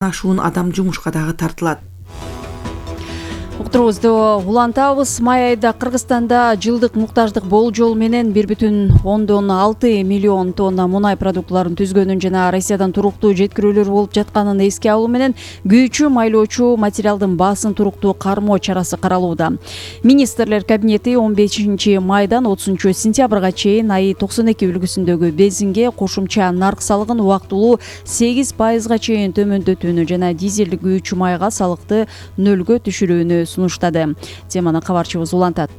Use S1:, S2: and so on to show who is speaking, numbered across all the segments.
S1: ашуун адам жумушка дагы тартылат.
S2: Уктурубузду улантабыз. Май айында Кыргызстанда жылдык муктаждык болжол менен 1,6 миллион тонна мунай продуктуларын түзгөнүн жана Россиядан туруктуу жеткирүүлөр болуп жатканын эске алуу менен күйүүчү майлоочу материалдын баасын туруктуу кармоо чарасы каралууда. Министрлер кабинети 15 майдан 30 сентябрга чейин АИ 92 үлгүсүндөгү бензинге кошумча нарк салыгын убактылуу 8% чейин төмөндөтүүнү жана дизелдик күйүүчү майга салыкты нөлгө түшүрүүнү сунуштады. Теманы кабарчыбыз улантат.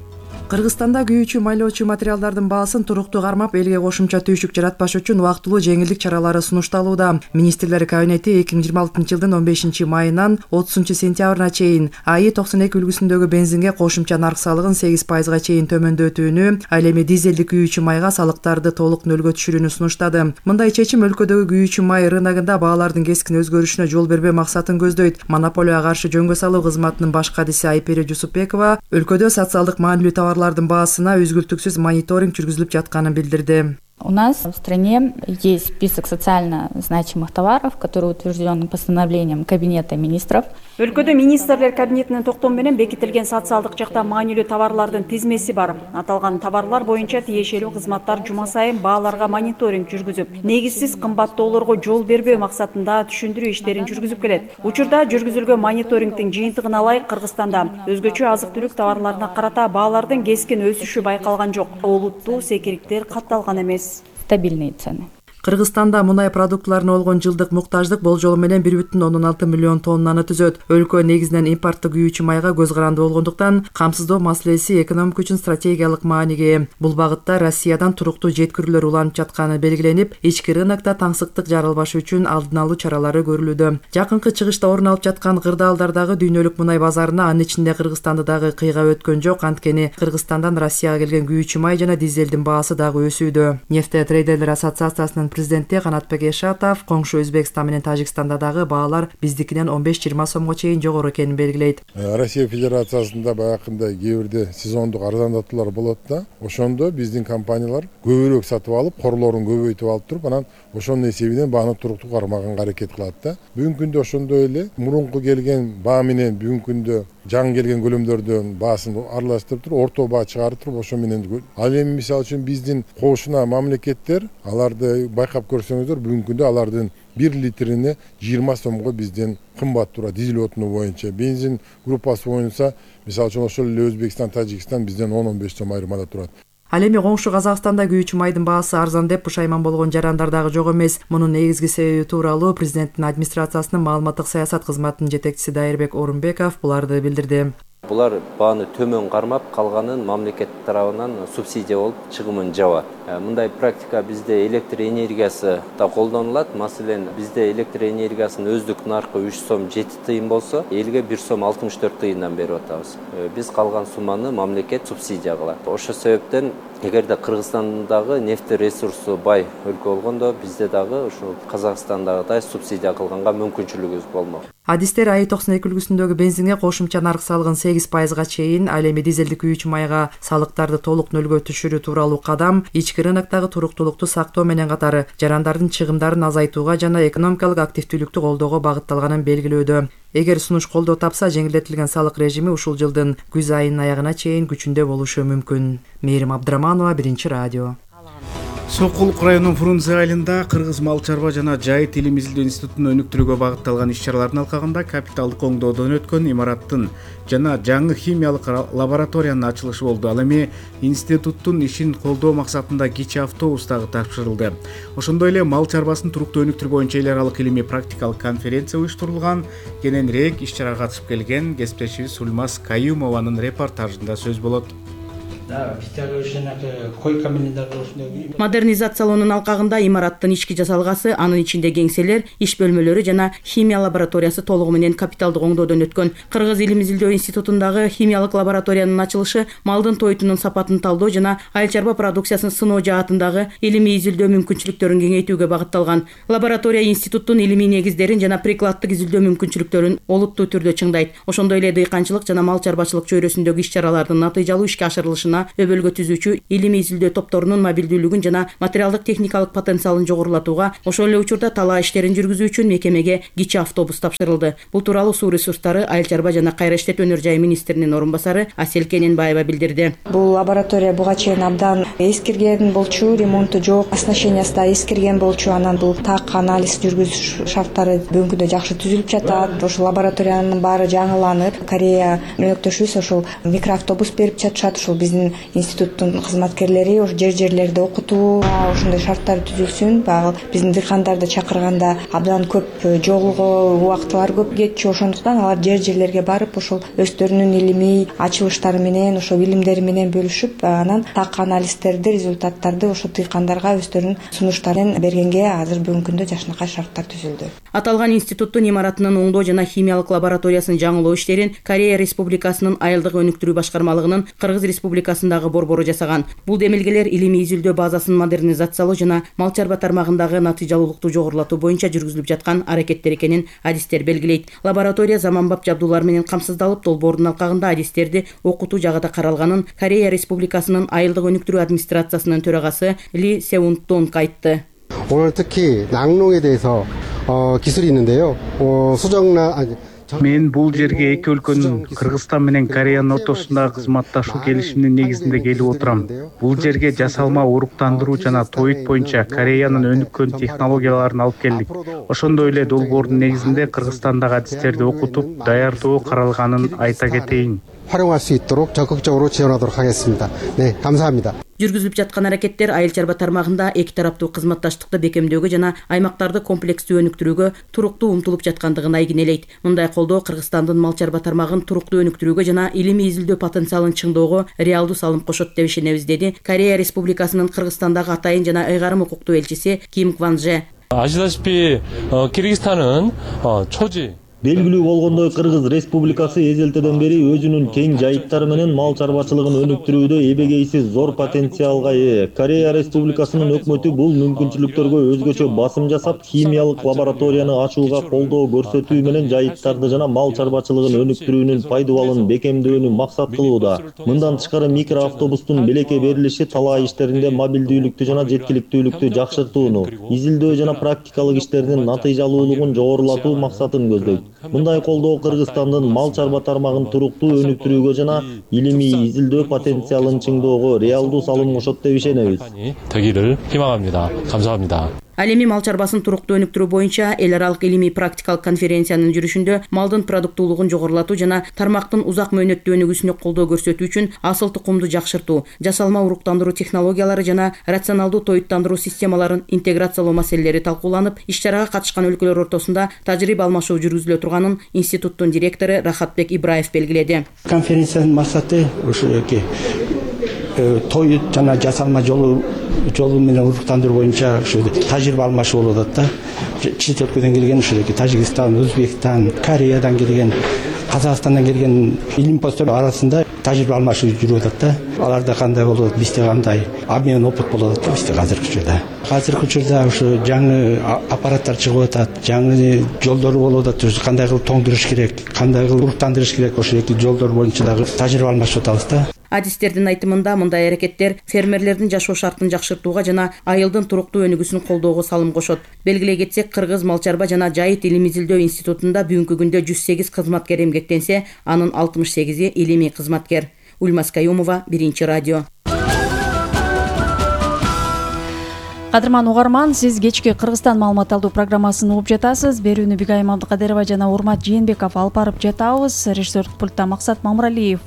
S1: Кыргызстанда күйүүчү майлоочу материалдардын баасын туруктуу кармап, элге кошумча түйшүк жаратпаш үчүн убактылуу жеңилдик чаралары сунушталууда. Министрлер кабинети 2026 жылдын 15 майынан 30 сентябрына чейин АИ 92 үлгүсүндөгү бензинге кошумча нарк салыгын 8% чейин төмөндөтүүнү, ал эми дизелдик күйүүчү майга салыктарды толук нөлгө түшүрүүнү сунуштады. Мындай чечим өлкөдөгү күйүүчү май рыногунда баалардын кескин өзгөрүшүнө жол бербөө максатын көздөйт. Монополияга каршы жөнгө салуу кызматынын баш кадиси Айпери Жусупбекова өлкөдө социалдык маанилүү товарлардын баасына үзгүлтүксүз мониторинг жүргүзүлүп жатканын билдирди.
S3: У нас в стране есть список социально значимых товаров, который утвержден постановлением Кабинета министров.
S2: Өлкөдө министрлер кабинетинин токтому менен бекитилген социалдык жакта маанилүү товарлардын тизмеси бар. Аталган товарлар боюнча тиешелүү кызматтар жума сайын бааларга мониторинг жүргүзүп, негизсиз кымбаттоолорго жол бербөө максатында түшүндүрүү иштерин жүргүзүп келет. Учурда жүргүзүлгөн мониторингдин жыйынтыгына ылайык Кыргызстанда өзгөчө азык-түлүк товарларына карата баалардын кескин өсүшү байкалган жок. Олуттуу секириктер катталган эмес.
S3: Стабильные цены.
S1: Кыргызстанда мунай продуктларына болгон жылдык муктаждык болжолу менен 1,6 миллион тоннаны түзөт. Өлкө негизинен импорттук күйүүчү майга көз каранды болгондуктан камсыздоо маселеси экономика үчүн стратегиялык мааниге ээ. Бул багытта Россиядан туруктуу жеткирүүлөр уланып жатканы белгиленип, ички рынокто таңсыктык жаралбашы үчүн алдын алуу чаралары көрүлүүдө. Жакынкы чыгышта орун алып жаткан кырдаалдардагы дүйнөлүк мунай базарына анын ичинде Кыргызстанды дагы кыйгап өткөн жок. Анткени Кыргызстандан Россияга келген күйүүчү май жана дизелдин баасы дагы өсүүдө. Нефтетрейдерлер ассоциациясынын президенти Канатбек Эшатов коңшу Өзбекстан менен Тажикстанда дагы баалар биздикинен 15-20 сомго чейин жогору экенин белгилейт.
S4: Россия Федерациясында баягындай кээ бирде сезондук арзандатуулар болот да. Ошондо биздин компаниялар көбүрөөк сатып алып, корлорун көбөйтүп алып туруп, анан ошонун эсебинен бааны туруктуу кармаганга аракет кылат да. Бүгүнкү күндө ошондой эле мурунку келген баа менен бүгүнкү күндө жаңы келген көлөмдөрдөн баасын аралаштырып туруп, орто баа чыгарып туруп, ошо менен ал эми мисалы үчүн биздин кошуна мамлекеттер аларды байкап көрсөңүздөр, бүгүнкү күндө алардын 1 литрине 20 сомго бизден кымбат турат. Дизель отуну боюнча бензин группасы боюнча мисалы үчүн ошол эле Өзбекстан, Тажикстан бизден 10-15 сом айырмада турат.
S1: Ал эми коңшу Казакстанда күйүүчү майдын баасы арзан деп пушайман болгон жарандар дагы жок эмес. Мунун негизги себеби тууралуу президенттин администрациясынын маалыматтык саясат кызматынын жетекчиси Дайырбек Орунбеков буларды билдирди.
S5: Булар бааны төмөн кармап, калганын мамлекет тарабынан субсидия болуп чыгымын жабат. Мындай практика бизде электр энергиясы да колдонулат. Маселен, бизде электр энергиясынын өздүк наркы 3 сом 7 тыйын болсо, элге 1 сом 64 тыйындан берип атабыз. Биз калган сумманы мамлекет субсидия кылат. Ошол себептен эгерде Кыргызстандагы нефть ресурсу бай өлкө болгондо, бизде дагы ушу Казакстандагыдай субсидия кылганга мүмкүнчүлүгүбүз болмок.
S1: Адистер АИ 92 үлгүсүндөгү бензинге кошумча нарк салыгын 8% чейин, ал эми дизелдик күйүүчү майга салыктарды толук нөлгө түшүрүү тууралуу кадам ички рыноктогу туруктуулукту сактоо менен катары жарандардын чыгымдарын азайтууга жана экономикалык активдүүлүктү колдоого багытталганын белгилөөдө. Эгер сунуш колдоо тапса, жеңилдетилген салык режими ушул жылдын күз айынын аягына чейин күчүндө болушу мүмкүн. Мээрим Абдыраманова, Биринчи радио.
S6: Сокулук районунун Фрунзе айылында Кыргыз мал чарба жана жайыт илим изилдөө институтун өнүктүрүүгө багытталган иш-чаралардын алкагында капиталдык оңдоодон өткөн имараттын жана жаңы химиялык лабораториянын ачылышы болду. Ал эми институттун ишин колдоо максатында кичи автобус дагы тапшырылды. Ошондой эле мал чарбасын туруктуу өнүктүрүү боюнча эл аралык илимий практикалык конференция уюштурулган. Кененирээк иш-чарага катышып келген кесиптешибиз Сулмаз Каюмованын репортажында сөз болот.
S7: Модернизациялоонун алкагында имараттын ички жасалгасы, анын ичинде кеңселер, иш бөлмөлөрү жана химия лабораториясы толугу менен капиталдык оңдоодон өткөн. Кыргыз илим изилдөө институтундагы химиялык лабораториянын ачылышы малдын тойтунун сапатын талдоо жана айыл чарба продукциясын сыноо жаатындагы илимий изилдөө мүмкүнчүлүктөрүн кеңейтүүгө багытталган. Лаборатория институттун илимий негиздерин жана прикладдык изилдөө мүмкүнчүлүктөрүн олуттуу түрдө чыңдайт. Ошондой эле дыйканчылык жана мал чарбачылык чөйрөсүндөгү иш-чаралардын натыйжалуу ишке ашырылышына жана өбөлгө түзүүчү илимий изилдөө топторунун мобилдүүлүгүн жана материалдык техникалык потенциалын жогорулатууга, ошол эле учурда талаа иштерин жүргүзүү үчүн мекемеге кичи автобус тапшырылды. Бул тууралуу Суу ресурстары, Айыл чарба жана кайра иштетүү өнөр жайы министринин орун басары Асель Кененбаева билдирди.
S8: Бул лаборатория буга чейин абдан эскирген болчу, ремонту жок, оснащениясы да эскирген болчу. Анан бул так анализ жүргүзүш шарттары бүгүнкү күндө жакшы түзүлүп жатат. Ошол лабораториянын баары жаңыланып, Корея өнөктөшүбүз ошол микроавтобус берип жатышат. Ошол биздин институттун кызматкерлери ошол жерлерде окутуу, ошондой шарттар түзүлсүн. Баягы биздин дыйкандарды чакырганда абдан көп жолго убактылар көп кетчү. Ошондуктан алар жерлерге барып, ошол өздөрүнүн илимий ачылыштары менен, ошол билимдери менен бөлүшүп, анан так анализдерди, результаттарды ошол дыйкандарга өздөрүнүн сунуштарын бергенге азыр бүгүнкү күндө жакшынакай шарттар түзүлдү.
S7: Аталган институттун имаратынын оңдоо жана химиялык лабораториясын жаңылоо иштерин Корея Республикасынын айылдык өнүктүрүү башкармалыгынын Кыргыз Республикасындагы борбору жасаган. Бул демилгелер илимий изилдөө базасын модернизациялоо жана мал чарба тармагындагы натыйжалуулукту жогорулатуу боюнча жүргүзүлүп жаткан аракеттер экенин адистер белгилейт. Лаборатория заманбап жабдуулар менен камсыздалып, долбоордун алкагында адистерди окутуу жагы да каралганын Корея Республикасынын айылдык өнүктүрүү администрациясынын төрагасы Ли Сеунтонг айтты.
S9: 오늘 특히 낙농에 대해서 기술이 있는데요.
S6: Мен бул жерге эки өлкөнүн Кыргызстан менен Кореянын ортосундагы кызматташуу келишиминин негизинде келип отурам. Бул жерге жасалма уруктандыруу жана тоют боюнча Кореянын өнүккөн технологияларын алып келдик. Ошондой эле долбоордун негизинде Кыргызстандагы адистерди окутуп, даярдоо каралганын айта кетейин.
S9: 활용할 수 있도록 적극적으로 지원하도록 하겠습니다. 네, 감사합니다.
S7: Жүргүзүлүп жаткан аракеттер айыл чарба тармагында эки тараптуу кызматташтыкты бекемдөөгө жана аймактарды комплекстүү өнүктүрүүгө туруктуу умтулуп жаткандыгын айгинелейт. Мындай колдоо Кыргызстандын мал чарба тармагын туруктуу өнүктүрүүгө жана илимий изилдөө потенциалын чыңоого реалдуу салым кошот деп ишенебиз, деди Корея Республикасынын Кыргызстандагы атайын жана ыйгарым укуктуу элчиси Ким Кванже.
S10: 아시다시피 키르기스탄은 초지
S11: Белгилүү болгондой, Кыргыз Республикасы эзелтеден бери өзүнүн кең жайыттары менен мал чарбачылыгын өнүктүрүүдө эбегейсиз зор потенциалга ээ. Корея Республикасынын өкмөтү бул мүмкүнчүлүктөргө өзгөчө басым жасап, химиялык лабораторияны ачууга колдоо көрсөтүү менен жайыттарды жана мал чарбачылыгын өнүктүрүүнүн пайдубалын бекемдөөнү максат кылууда. Мындан тышкары микроавтобустун белекке берилиши талаа иштеринде мобилдүүлүктү жана жеткиликтүүлүктү жакшыртууну, изилдөө жана практикалык иштердин натыйжалуулугун жогорулатуу максатын көздөйт. Мындай колдоо Кыргызстандын мал чарба тармагын туруктуу өнүктүрүүгө жана илимий изилдөө потенциалын чыңоого реалдуу салым кошот деп ишенебиз.
S10: 되기를 희망합니다. 감사합니다.
S7: Ал эми мал чарбасын туруктуу өнүктүрүү боюнча эл аралык илимий практикалык конференциянын жүрүшүндө малдын продуктуулугун жогорулатуу жана тармактын узак мөөнөттүү өнүгүүсүнө колдоо көрсөтүү үчүн асыл тукумду жакшыртуу, жасалма уруктандыруу технологиялары жана рационалдуу тоюттандыруу системаларын интеграциялоо маселелери талкууланып, иш-чарага катышкан өлкөлөр ортосунда тажрыйба алмашуу жүргүзүлө турганын институттун директору Рахатбек Ибраев белгиледи.
S12: Конференциянын максаты ушу тоют жана жасалма жолу менен уруктандыруу боюнча ушу тажрыйба алмашуу болуп атат да. Чет өлкөдөн келген ушу Тажикстан, Өзбекстан, Кореядан келген, Казакстандан келген илимпоздор арасында тажрыйба алмашуу жүрүп атат да. Аларда кандай болот, бизде кандай обмен опыт болуп атат да бизде азыркы учурда ушу жаңы аппараттар чыгып атат, жаңы жолдор болуп атат, кандай кылып тоңдуруш керек, кандай кылып уруктандырыш керек, ошол жолдор боюнча дагы тажрыйба алмашып атабыз да.
S7: Адистердин айтымында мындай аракеттер фермерлердин жашоо шартын жакшыртууга жана айылдын туруктуу өнүгүүсүн колдоого салым кошот. Белгилей кетсек, Кыргыз мал чарба жана жайыт илимий изилдөө институтунда бүгүнкү күндө 108 кызматкер эмгектенсе, анын 68-и илимий кызматкер. Ульмас Каюмова, Биринчи радио.
S2: Кадырман угарман, сиз кечки Кыргызстан маалымат алуу программасын угуп жатасыз. Берүүнү Бигайым Абдыкадырова жана Урмат Жээнбеков алып барып жатабыз. Режиссерлук пультта Максат Мамыралиев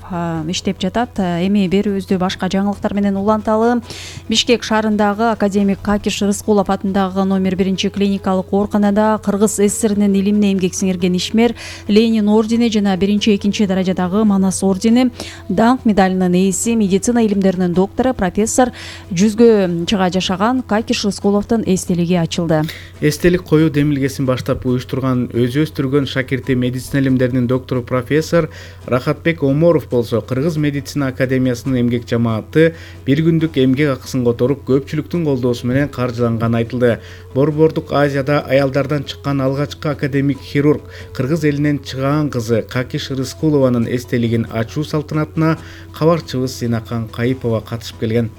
S2: иштеп жатат. Эми берүүбүздү башка жаңылыктар менен уланталы. Бишкек шаарындагы академик Какиш Рыскулов атындагы номер 1 клиникалык ооруканада Кыргыз ССРинин илимине эмгек сиңирген ишмер Ленин ордени жана 1-2 даражадагы Манас ордени, даңк медалынын ээси, медицина илимдеринин доктору, профессор, жүзгө чыга жашаган Какиш Какиш Рыскуловдун эстелиги ачылды.
S6: Эстелик коюу демилгесин баштап уюштурган өзү өстүргөн шакирти медицина илимдеринин доктору профессор Рахатбек Оморов болсо Кыргыз медицина академиясынын эмгек жамааты бир күндүк эмгек акысын которуп көпчүлүктүн колдоосу менен каржыланганы айтылды. Борбордук Азияда аялдардан чыккан алгачкы академик хирург Кыргыз элинен чыгаан кызы Какиш Рыскулованын эстелигин ачуу салтанатына кабарчыбыз Зинакан Кайыпова катышып келген.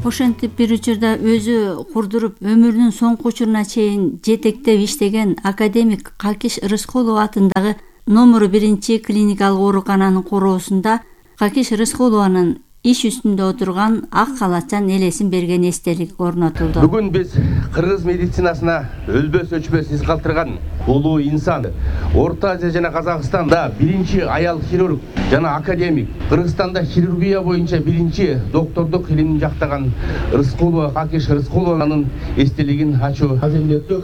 S13: Ошентип бир учурда өзү курдуруп өмүрүнүн соңку учуруна чейин жетектеп иштеген академик Какиш Рыскулова атындагы номер 1 клиникалык оорукананын короосунда Какиш Рыскулованын иш үстүндө отурган ак калачан элесин берген эстелик орнотулду.
S14: Бүгүн биз кыргыз медицинасына өлбөс өчпөс из калтырган улуу инсан, Орто Азия жана Казакстанда биринчи аял хирург жана академик, Кыргызстанда хирургия боюнча биринчи доктордук илимин жактаган Рыскулова Какиш Рыскулованын эстелигин ачуу аземеттүү.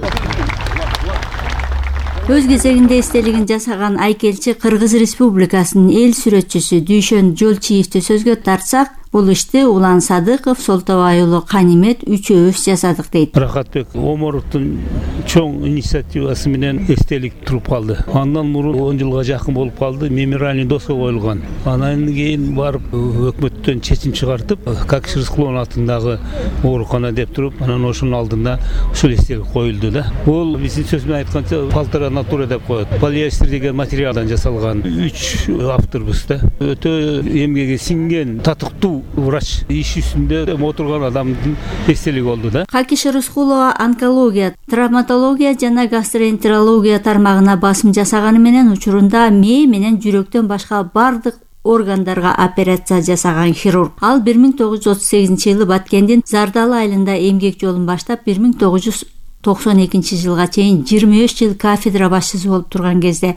S13: Өз кезегинде эстелигин жасаган айкелчи Кыргыз Республикасынын эл сүрөтчүсү Дүйшөн Жолчиевди сөзгө тартсак, бул ишти Улан Садыков, Солтобай уулу Канимет үчөөбүз жасадык дейт.
S15: Рахатбек Оморовдун чоң инициативасы менен эстелик туруп калды. Андан мурун 10 жылга жакын болуп калды, мемориальный доска коюлган. Андан кийин барып өкмөттөн чечим чыгартып, Какиш Рыскуловдун атындагы оорукана деп туруп, анан ошонун алдында ушул эстелик коюлду да. Бул биздин сөз менен айтканча полтора натура деп коет. Полиэстер деген материалдан жасалган 3 авторбуз да. Өтө эмгеги сиңген, татыктуу врач, иш үстүндө отурган адамдын эстелиги болду да.
S13: Какиш Рыскулова онкология, травматология жана гастроэнтерология тармагына басым жасаганы менен учурунда мээ менен жүрөктөн башка бардык органдарга операция жасаган хирург. Ал 1938-жылы Баткендин Зардалы айылында эмгек жолун баштап 1992-жылга чейин 23 жыл кафедра башчысы болуп турган кезде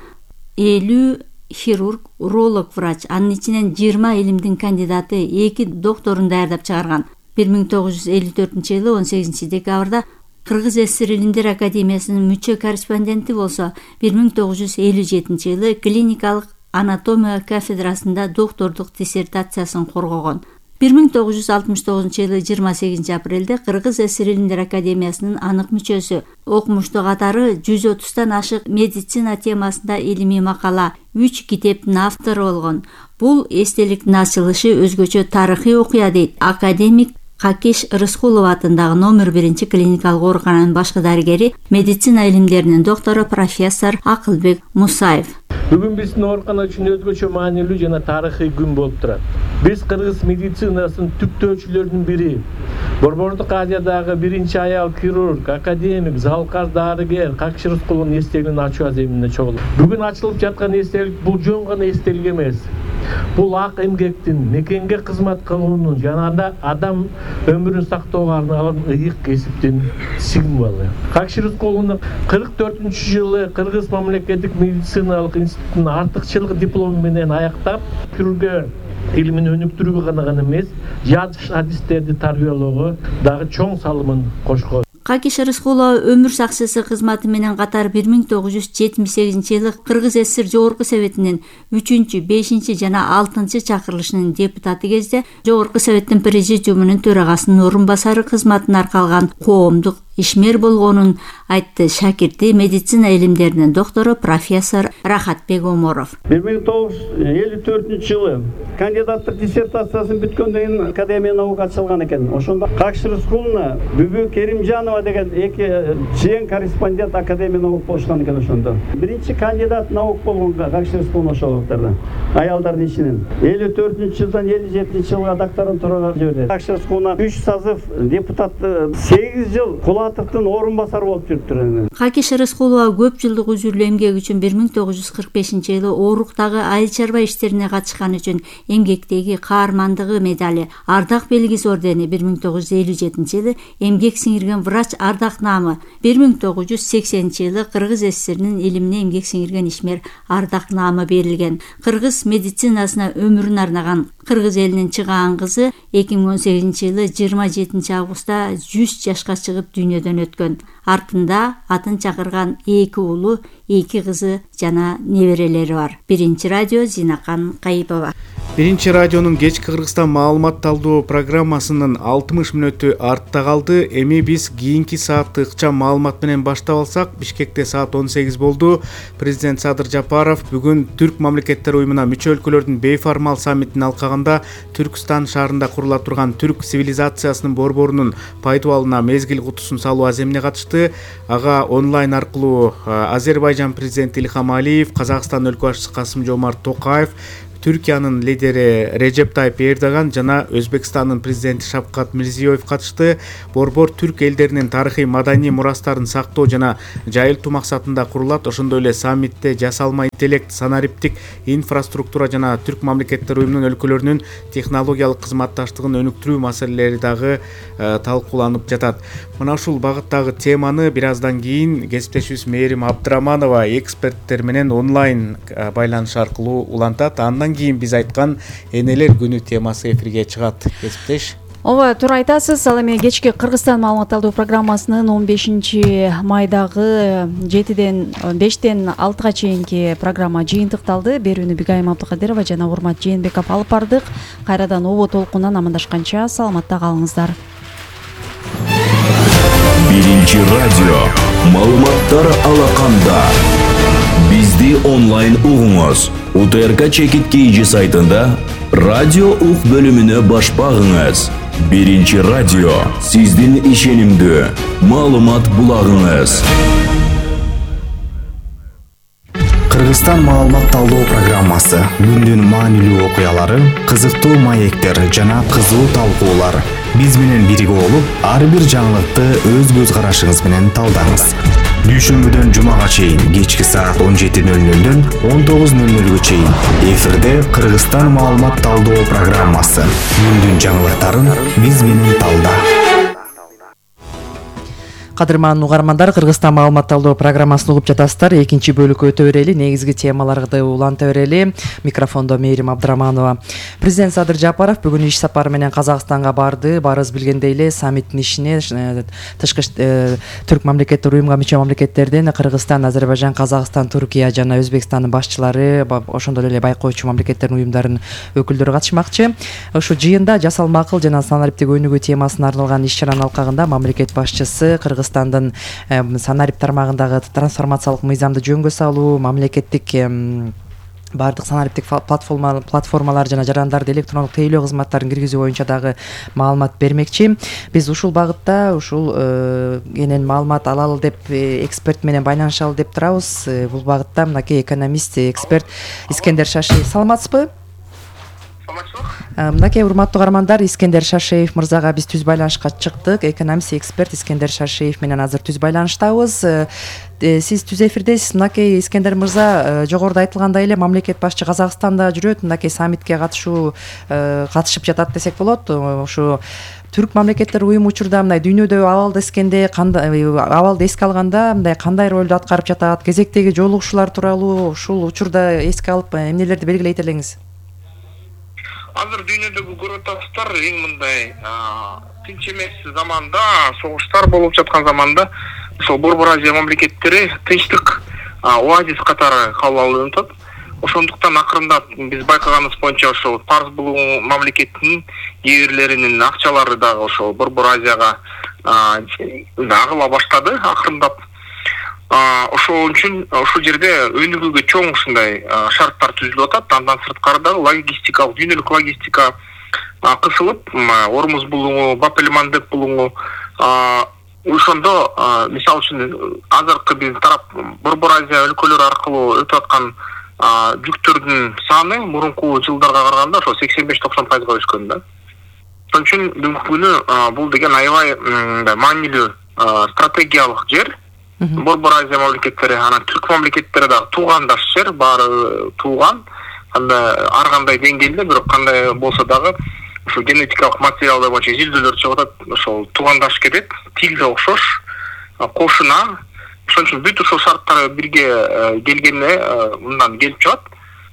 S13: 50 хирург, уролог врач, анын ичинен 20 илимдин кандидаты, 2 докторун даярдап чыгарган. 1954-жылы 18 декабрда Кыргыз ССР Илимдер Академиясынын мүчө корреспонденти болсо, 1957-жылы клиникалык анатомия кафедрасында доктордук диссертациясын коргогон. 1969-жылы 28 апрелде Кыргыз ССР Илимдер Академиясынын анык мүчөсү, окумуштуу катары 130тан ашык медицина темасында илимий макала, 3 китептин автору болгон. Бул эстеликтин ачылышы өзгөчө тарыхый окуя дейт академик Какиш Рыскулова атындагы номер 1 клиникалык оорукананын башкы дарыгери, медицина илимдеринин доктору профессор Акылбек Мусаев.
S16: Бүгүн биздин оорукана үчүн өзгөчө маанилүү жана тарыхый күн болуп турат. Биз кыргыз медицинасынын түптөөчүлөрүнүн бири, Борбордук Азиядагы биринчи аял хирург, академик, залкар дарыгер Какиш Рыскуловдун эстелигин ачуу аземине чогулдук. Бүгүн ачылып жаткан эстелик бул жөн гана эстелик эмес. Бул ак эмгектин, мекенге кызмат кылуунун жана адам өмүрүн сактоого арналган ыйык кесиптин символу. Какиш Рыскуловдун 44-жылы Кыргыз мамлекеттик медициналык институтунун артыкчылык диплому менен аяктап, хирургия илимин өнүктүрүүгө гана эмес, жазыш адистерди тарбиялоого дагы чоң салымын кошкон.
S13: Какиш Рыскулова өмүр сакчысы кызматы менен катар 1978-жылы Кыргыз ССР Жогорку Советинин 3, 5 жана 6 чакырылышынын депутаты кезде Жогорку Советтин президиумунун төрагасынын орун басары кызматын аркалган коомдук ишмер болгонун айтты шакирти, медицина илимдеринин доктору профессор Рахатбек Оморов.
S17: 1954-жылы кандидаттык диссертациясын бүткөндөн кийин академия наука ачылган экен. Ошондо Какиш Рыскуловна Бүбү Керимжанова деген эки чейин корреспондент академия наука болушкан экен ошондо. Биринчи кандидат наук болгон Какиш Рыскуловна ошолуктарда. Аялдардын ичинен 54-жылдан 57-жылга докторантурага жиберди. Какиш Рыскуловна 3 созыв депутаты, 8 жыл Кулатовдун орун басары болуп жүрүптүр.
S13: Какиш Рыскулова көп жылдык үзүрлүү эмгеги үчүн 1945-жылы Ооруктагы айыл чарба иштерине катышкан үчүн эмгектеги каармандыгы медали, ардак белгиси ордени, 1957-жылы эмгек сиңирген врач ардак наамы, 1980-жылы Кыргыз ССРинин илимине эмгек сиңирген ишмер ардак наамы берилген. Кыргыз медицинасына өмүрүн арнаган Кыргыз элинин чыгаан кызы 2018-жылы 27 августта 100 жашка чыгып дүйнөдөн өткөн. Артында атын чакырган 2 уулу, 2 кызы жана неберелери бар. Биринчи радио Зинакан Кайыпова.
S6: Биринчи радионун кечки Кыргызстан маалымат талдоо программасынын 60 мүнөтү артта калды. Эми биз кийинки саатты ыкчам маалымат менен баштап алсак, Бишкекте саат 18 болду. Президент Садыр Жапаров бүгүн Түрк мамлекеттер уюмуна мүчө өлкөлөрдүн бейформал саммитин алкагында Түркстан шаарында курула турган түрк цивилизациясынын борборунун пайдубалына мезгил кутусун салуу аземине катышты. Ага онлайн аркылуу Азербайжан президенти Илхам Алиев, Казакстан өлкө башчысы Касым-Жомарт Токаев, Түркиянын лидери Режеп Тайып Эрдоган жана Өзбекстандын президенти Шавкат Мирзиёев катышты. Борбор түрк элдеринин тарыхый маданий мурастарын сактоо жана жайылтуу максатында курулат. Ошондой эле саммитте жасалма интеллект, санариптик инфраструктура жана түрк мамлекеттер уюмунун өлкөлөрүнүн технологиялык кызматташтыгын өнүктүрүү маселелери дагы талкууланып жатат. Мына ушул багыттагы теманы бир аздан кийин кесиптешибиз Мээрим Абдыраманова эксперттер менен онлайн байланыш аркылуу улантат. Андан кийин биз айткан энелер күнү темасы эфирге чыгат. Кесиптеш.
S2: Ооба, туура айтасыз. Ал эми кечки Кыргызстан маалымат талдоо программасынын 15-майдагы 5-тен 6-га чейинки программа жыйынтыкталды. Берүүнү Бигайым Абдыкадырова жана Урмат Жээнбеков алып бардык. Кайрадан обо толкундан амандашканча саламатта калыңыздар.
S18: Биринчи радио маалыматтар алаканда. Бизди онлайн угуңуз. УТРК чекит KG сайтында радио ук бөлүмүнө баш багыңыз. Биринчи радио сиздин ишенимдүү маалымат булагыңыз.
S19: Кыргызстан маалымат талдоо программасы күндүн маанилүү окуялары, кызыктуу маектер жана кызуу талкуулар. Биз менен бирге болуп, ар бир жаңылыкты өз көз карашыңыз менен талдаңыз. Дүйшөмбүдөн жумага чейин кечки саат 17:00дөн 19:00га чейин эфирде Кыргызстан маалымат талдоо программасы. Күндүн жаңылыктарын биз менен талда.
S1: Кадырман угармандар, Кыргызстан маалымат талдоо программасын угуп жатасыздар. Экинчи бөлүккө өтө берели, негизги темаларды уланта берели. Микрофондо Мээрим Абдыраманова. Президент Садыр Жапаров бүгүн иш сапары менен Казакстанга барды. Барыбыз билгендей эле саммиттин ишине тышкы түрк мамлекеттер уюмга мүчө мамлекеттерден Кыргызстан, Азербайжан, Казакстан, Түркия жана Өзбекстандын башчылары, ошондой эле байкоочу мамлекеттердин уюмдарынын өкүлдөрү катышмакчы. Ушул жыйында жасалма акыл жана санариптик өнүгүү темасына арналган иш-чаранын алкагында мамлекет башчысы Кыргызстандын санарип тармагындагы трансформациялык мыйзамды жөнгө салуу, мамлекеттик баардык санариптик платформалар жана жарандарды электрондук тейлөө кызматтарын киргизүү боюнча дагы маалымат бермекчи. Биз ушул багытта энен маалымат алалы деп эксперт менен байланышалы деп турабыз. Бул багытта мынакей экономист, эксперт Искендер Шашиев. Саламатсызбы? Мынакей урматтуу угармандар, Искендер Шашиев мырзага биз түз байланышка чыктык. Экономист, эксперт Искендер Шашиев менен азыр түз байланыштабыз. Сиз түз эфирдесиз. Мынакей Искендер мырза, жогоруда айтылгандай эле мамлекет башчы Казакстанда жүрөт. Мынакей саммитке катышып жатат десек болот. Ушу түрк мамлекеттер уюму учурда мындай дүйнөдө абалды эске алганда мындай кандай ролду аткарып жатат? Кезектеги жолугушуулар тууралуу ушул учурда эске алып эмнелерди белгилейт элеңиз?
S20: Азыр дүйнөдөгү көрүп атасыздар, эң мындай тынч эмес заманда, согуштар болуп жаткан заманда ошол Борбор Азия мамлекеттери тынчтык оазис катары кабыл алынып атат. Ошондуктан акырындап биз байкаганыбыз боюнча ошол Парс булугу мамлекетинин кээ бирлеринин акчалары дагы ошол Борбор Азияга агыла баштады акырындап. Ошол үчүн ушул жерде өнүгүүгө чоң ушундай шарттар түзүлүп атат. Андан сырткары дагы логистикалык, дүйнөлүк логистика кысылып, Ормуз булугу, Баб-эль-Мандеб булугу ошондо мисалы үчүн азыркы биздин тарап Борбор Азия өлкөлөрү аркылуу өтүп аткан жүктөрдүн саны мурунку жылдарга караганда ошо 85-90% өскөн да. Ошон үчүн бүгүнкү күнү бул деген аябай маанилүү стратегиялык жер. Борбор Азия мамлекеттери, анан түрк мамлекеттери дагы туугандаш жер, баары тууган. Анда ар кандай деңгээлде, бирок кандай болсо дагы ошо генетикалык материалдар боюнча изилдөөлөр чыгып атат. Ошол туугандаш кетет, тил да окшош, кошуна. Ошон үчүн бүт ушул шарттар бирге келгенде мындан келип чыгат.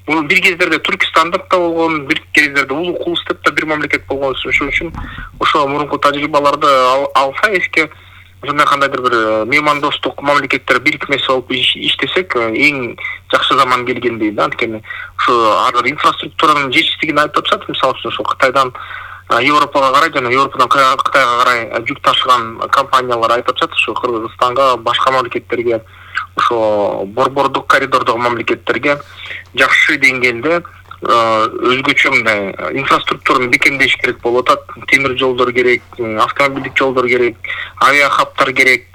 S20: Бул бир кездерде Түркистандык да болгон, бир кездерде Улуу Кулус деп да бир мамлекет болгон. Ошон үчүн ошо мурунку тажрыйбаларды алса эске ошондой кандайдыр бир меймандостук мамлекеттер бирикмеси болуп иштесек эң жакшы заман келгендей да. Анткени ушу азыр инфраструктуранын жетишсиздигин айтып атышат. Мисалы үчүн ошо Кытайдан Европага карай жана Европадан Кытайга карай жүк ташыган компаниялар айтып атышат. Ушу Кыргызстанга, башка мамлекеттерге, ошо борбордук коридордогу мамлекеттерге жакшы деңгээлде өзгөчө мындай инфраструктураны бекемдеш керек болуп атат. Темир жолдор керек, автомобилдик жолдор керек, авиа хабтар керек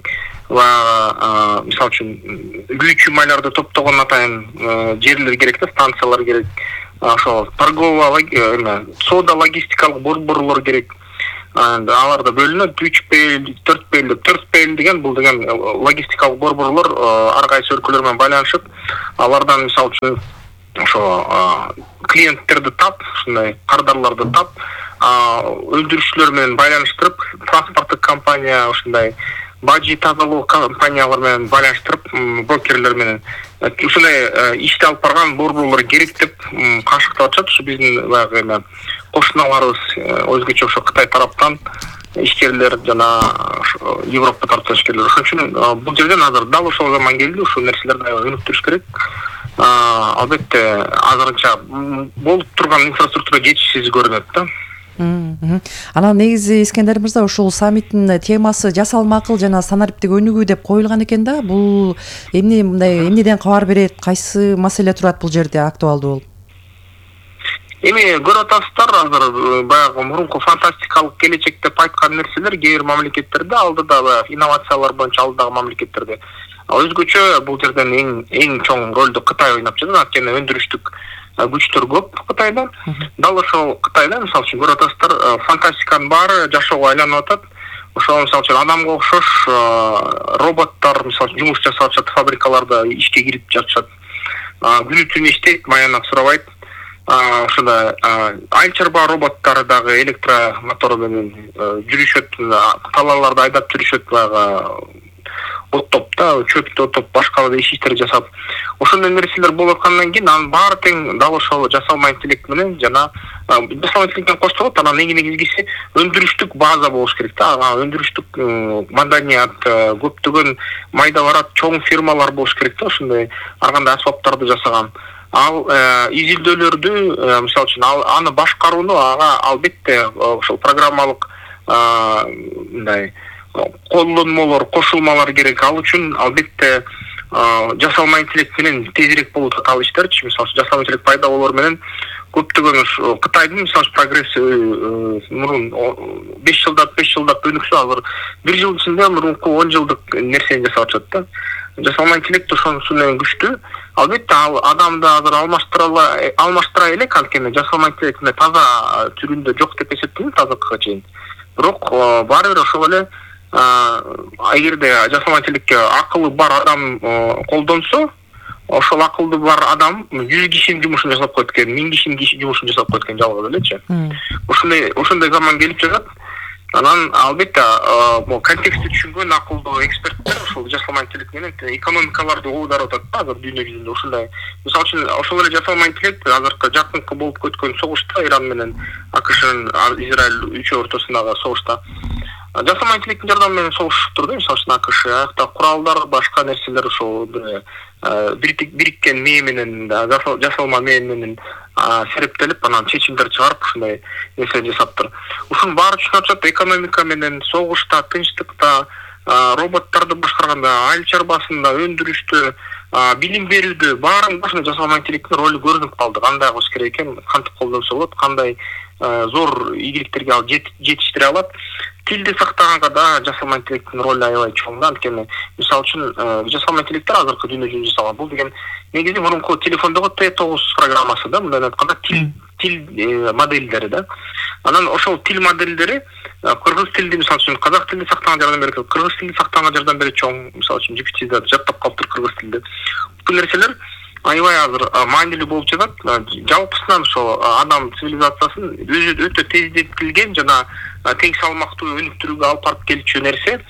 S20: ва мисалы үчүн күйүүчү майларды топтогон атайын жерлер керек да, станциялар керек. Ошо торговый соода логистикалык борборлор керек. Аларда бөлүнөт 3P, 4P, 4P деген бул деген логистикалык борборлор ар кайсы өлкөлөр менен байланышып, алардан мисалы үчүн ошо клиенттерди тап, ушундай кардарларды тап, өндүрүүчүлөр менен байланыштырып, транспорттук компания, ушундай бажи тазалоо компаниялар менен байланыштырып, брокерлер менен ушундай ишти алып барган борборлор керек деп кашыктап атышат. Ушу биздин баягы кошуналарыбыз өзгөчө ошо Кытай тараптан ишкерлер жана Европа тараптан ишкерлер. Ошон үчүн бул жерден азыр дал ошол заман келди. Ушул нерселерди аябай өнүктүрүш керек. Албетте азырынча болуп турган инфраструктура жетишсиз көрүнөт да.
S1: Анан негизи Искендер мырза ушул саммиттин темасы жасалма акыл жана санариптик өнүгүү деп коюлган экен да. Бул эмнеден кабар берет, кайсы маселе турат бул жерде актуалдуу болуп?
S20: Эми көрүп атасыздар, азыр баягы мурунку фантастикалык келечек деп айткан нерселер кээ бир мамлекеттерде, алдыда баягы инновациялар боюнча алдыдагы мамлекеттерде өзгөчө бул жерден эң чоң ролду Кытай ойноп жатат. Анткени өндүрүштүк күчтөр көп Кытайда. Дал ошол Кытайда мисалы үчүн көрүп атасыздар, фантастиканын баары жашоого айланып атат. Ошол мисалы үчүн адамга окшош роботтор мисалы үчүн жумуш жасап жатат, фабрикаларда ишке кирип жатышат. Күнү түнү иштейт, маянак сурабайт. Ошондой айыл-чарба роботтор дагы электромотор менен жүрүшөт, талааларды айдап жүрүшөт, баягы оттоп да, чөптү оттоп, башка да иштерди жасап. Ошондой нерселер болуп аткандан кийин анын баары тең дал ошол жасалма интеллект менен жана жасалма интеллекттен коштолот. Анан эң негизгиси өндүрүштүк база болуш керек да. Өндүрүштүк маданият, көптөгөн майда барат чоң фирмалар болуш керек да, ошондой ар кандай асбаптарды жасаган. Ал изилдөөлөрдү мисалы үчүн аны башкарууну албетте ошол программалык мындай колдонмолор, кошулмалар керек. Ал үчүн албетте жасалма интеллект менен тезирээк болуп атат ал иштерчи. Мисалы жасалма интеллект пайда болор менен көптөгөн Кытайдын мисалы прогресси мурун 5 жылдап өнүксө, азыр 1 жыл ичинде мурунку 10 жылдык нерсени жасап атышат да. Жасалма интеллект ошонусу менен күчтүү. Албетте ал адамды азыр алмаштыра элек, анткени жасалма интеллектин таза түрүндө жок деп эсептейм азыркыга чейин. Бирок баары бир ошол эле эгерде жасалма интеллектке акылы бар адам колдонсо, ошол акылды бар адам 100 кишинин жумушун жасап коет экен, 1000 кишинин жумушун жасап коет экен жалгыз элечи. Ошондой заман келип жатат. Анан албетте контекстти түшүнгөн акылдуу эксперттер ошол жасалма интеллект менен экономикаларды оодарып атат да азыр дүйнө жүзүндө. Ушундай мисалы үчүн ошол эле жасалма интеллект азыркы жакынкы болуп өткөн согушта, Иран менен АКШнын Израиль үчөө ортосундагы согушта жасалма интеллекттин жардамы менен согушуп турду. Мисалы үчүн АКШ аякта куралдар, башка нерселер ошол бириккен мээ менен, жасалма мээ менен серептелип, анан чечимдер чыгарып ушундай нерсени жасаптыр. Ушунун баары түшүнүп атат, экономика менен, согушта, тынчтыкта, роботторду башкарганда, айыл чарбасында, өндүрүштө, билим берүүдө баарын ушундай жасалма интеллекттин ролу көрүнүп калды. Кандай кылыш керек экен, кантип колдонсо болот, кандай зор ийгиликтерге ал жетиштире алат. Тилди сактаганга да жасалма интеллекттин ролу аябай чоң да. Анткени мисалы үчүн жасалма интеллекттер азыркы дүйнө жүзүндө жасалган. Бул деген негизи мурунку телефондогу T9 программасы да, мындай айтканда тил модельдери да. Анан ошол тил модельдери кыргыз тилди мисалы үчүн казак тилди сактаганга жардам берет, кыргыз тилди сактаганга жардам берет чоң. Мисалы үчүн GPT жаттап калыптыр кыргыз тилди. Бул нерселер аябай азыр маанилүү болуп жатат. Жалпысынан ошол адам цивилизациясын өзү өтө тездетилген жана тең салмактуу өнүктүрүүгө алып барып келчү нерсе.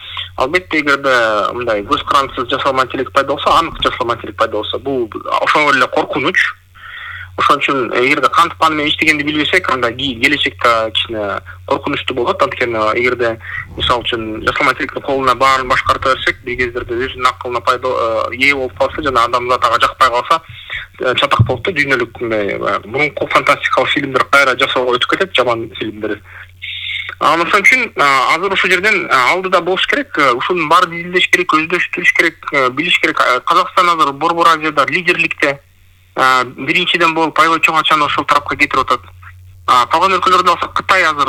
S20: Албетте эгерде мындай көз карандысыз жасалма интеллект пайда болсо, анык жасалма интеллект пайда болсо, бул ошол эле коркунуч. Ошон үчүн эгерде кантип аны менен иштегенди билбесек, анда келечекте кичине коркунучтуу болот. Анткени эгерде мисалы үчүн жасалма интеллекттин колуна баарын башкарта берсек, бир кездерде өзүнүн акылына ээ болуп калса жана адамзат ага жакпай калса, чатак болуп да дүйнөлүк мындай мурунку фантастикалык фильмдер кайра жасоого өтүп кетет, жаман фильмдер. Ошон үчүн азыр ушул жерден алдыда болуш керек, ушунун баарын изилдеш керек, өздөштүрүш керек, билиш керек. Казакстан азыр Борбор Азияда лидерликте биринчиден болуп аябай чоң ачаны ошол тарапка кетирип атат. Калган өлкөлөрдө алсак, Кытай азыр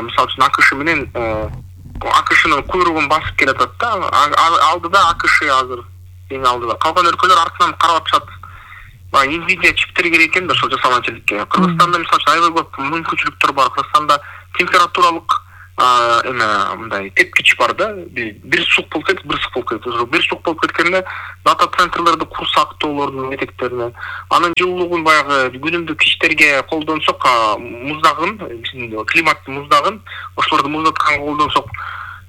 S20: мисалы үчүн АКШ менен АКШнын куйругун басып келатат да. Алдыда АКШ азыр эң алдыда. Калган өлкөлөр артынан карап атышат. Nvidia чиптери керек экен да ошол жасалма интеллектке. Кыргызстанда мисалы үчүн аябай көп мүмкүнчүлүктөр бар. Кыргызстанда температуралык мындай тепкич бар да. Бир сук болуп кетип, бир сук болуп кетип. Бир сук болуп кеткенде дата центрлерди курсак тоолордун этектерине, анын жылуулугун баягы күнүмдүк иштерге колдонсок, муздагын, биздин климаттын муздагын, ошолорду муздатканга колдонсок,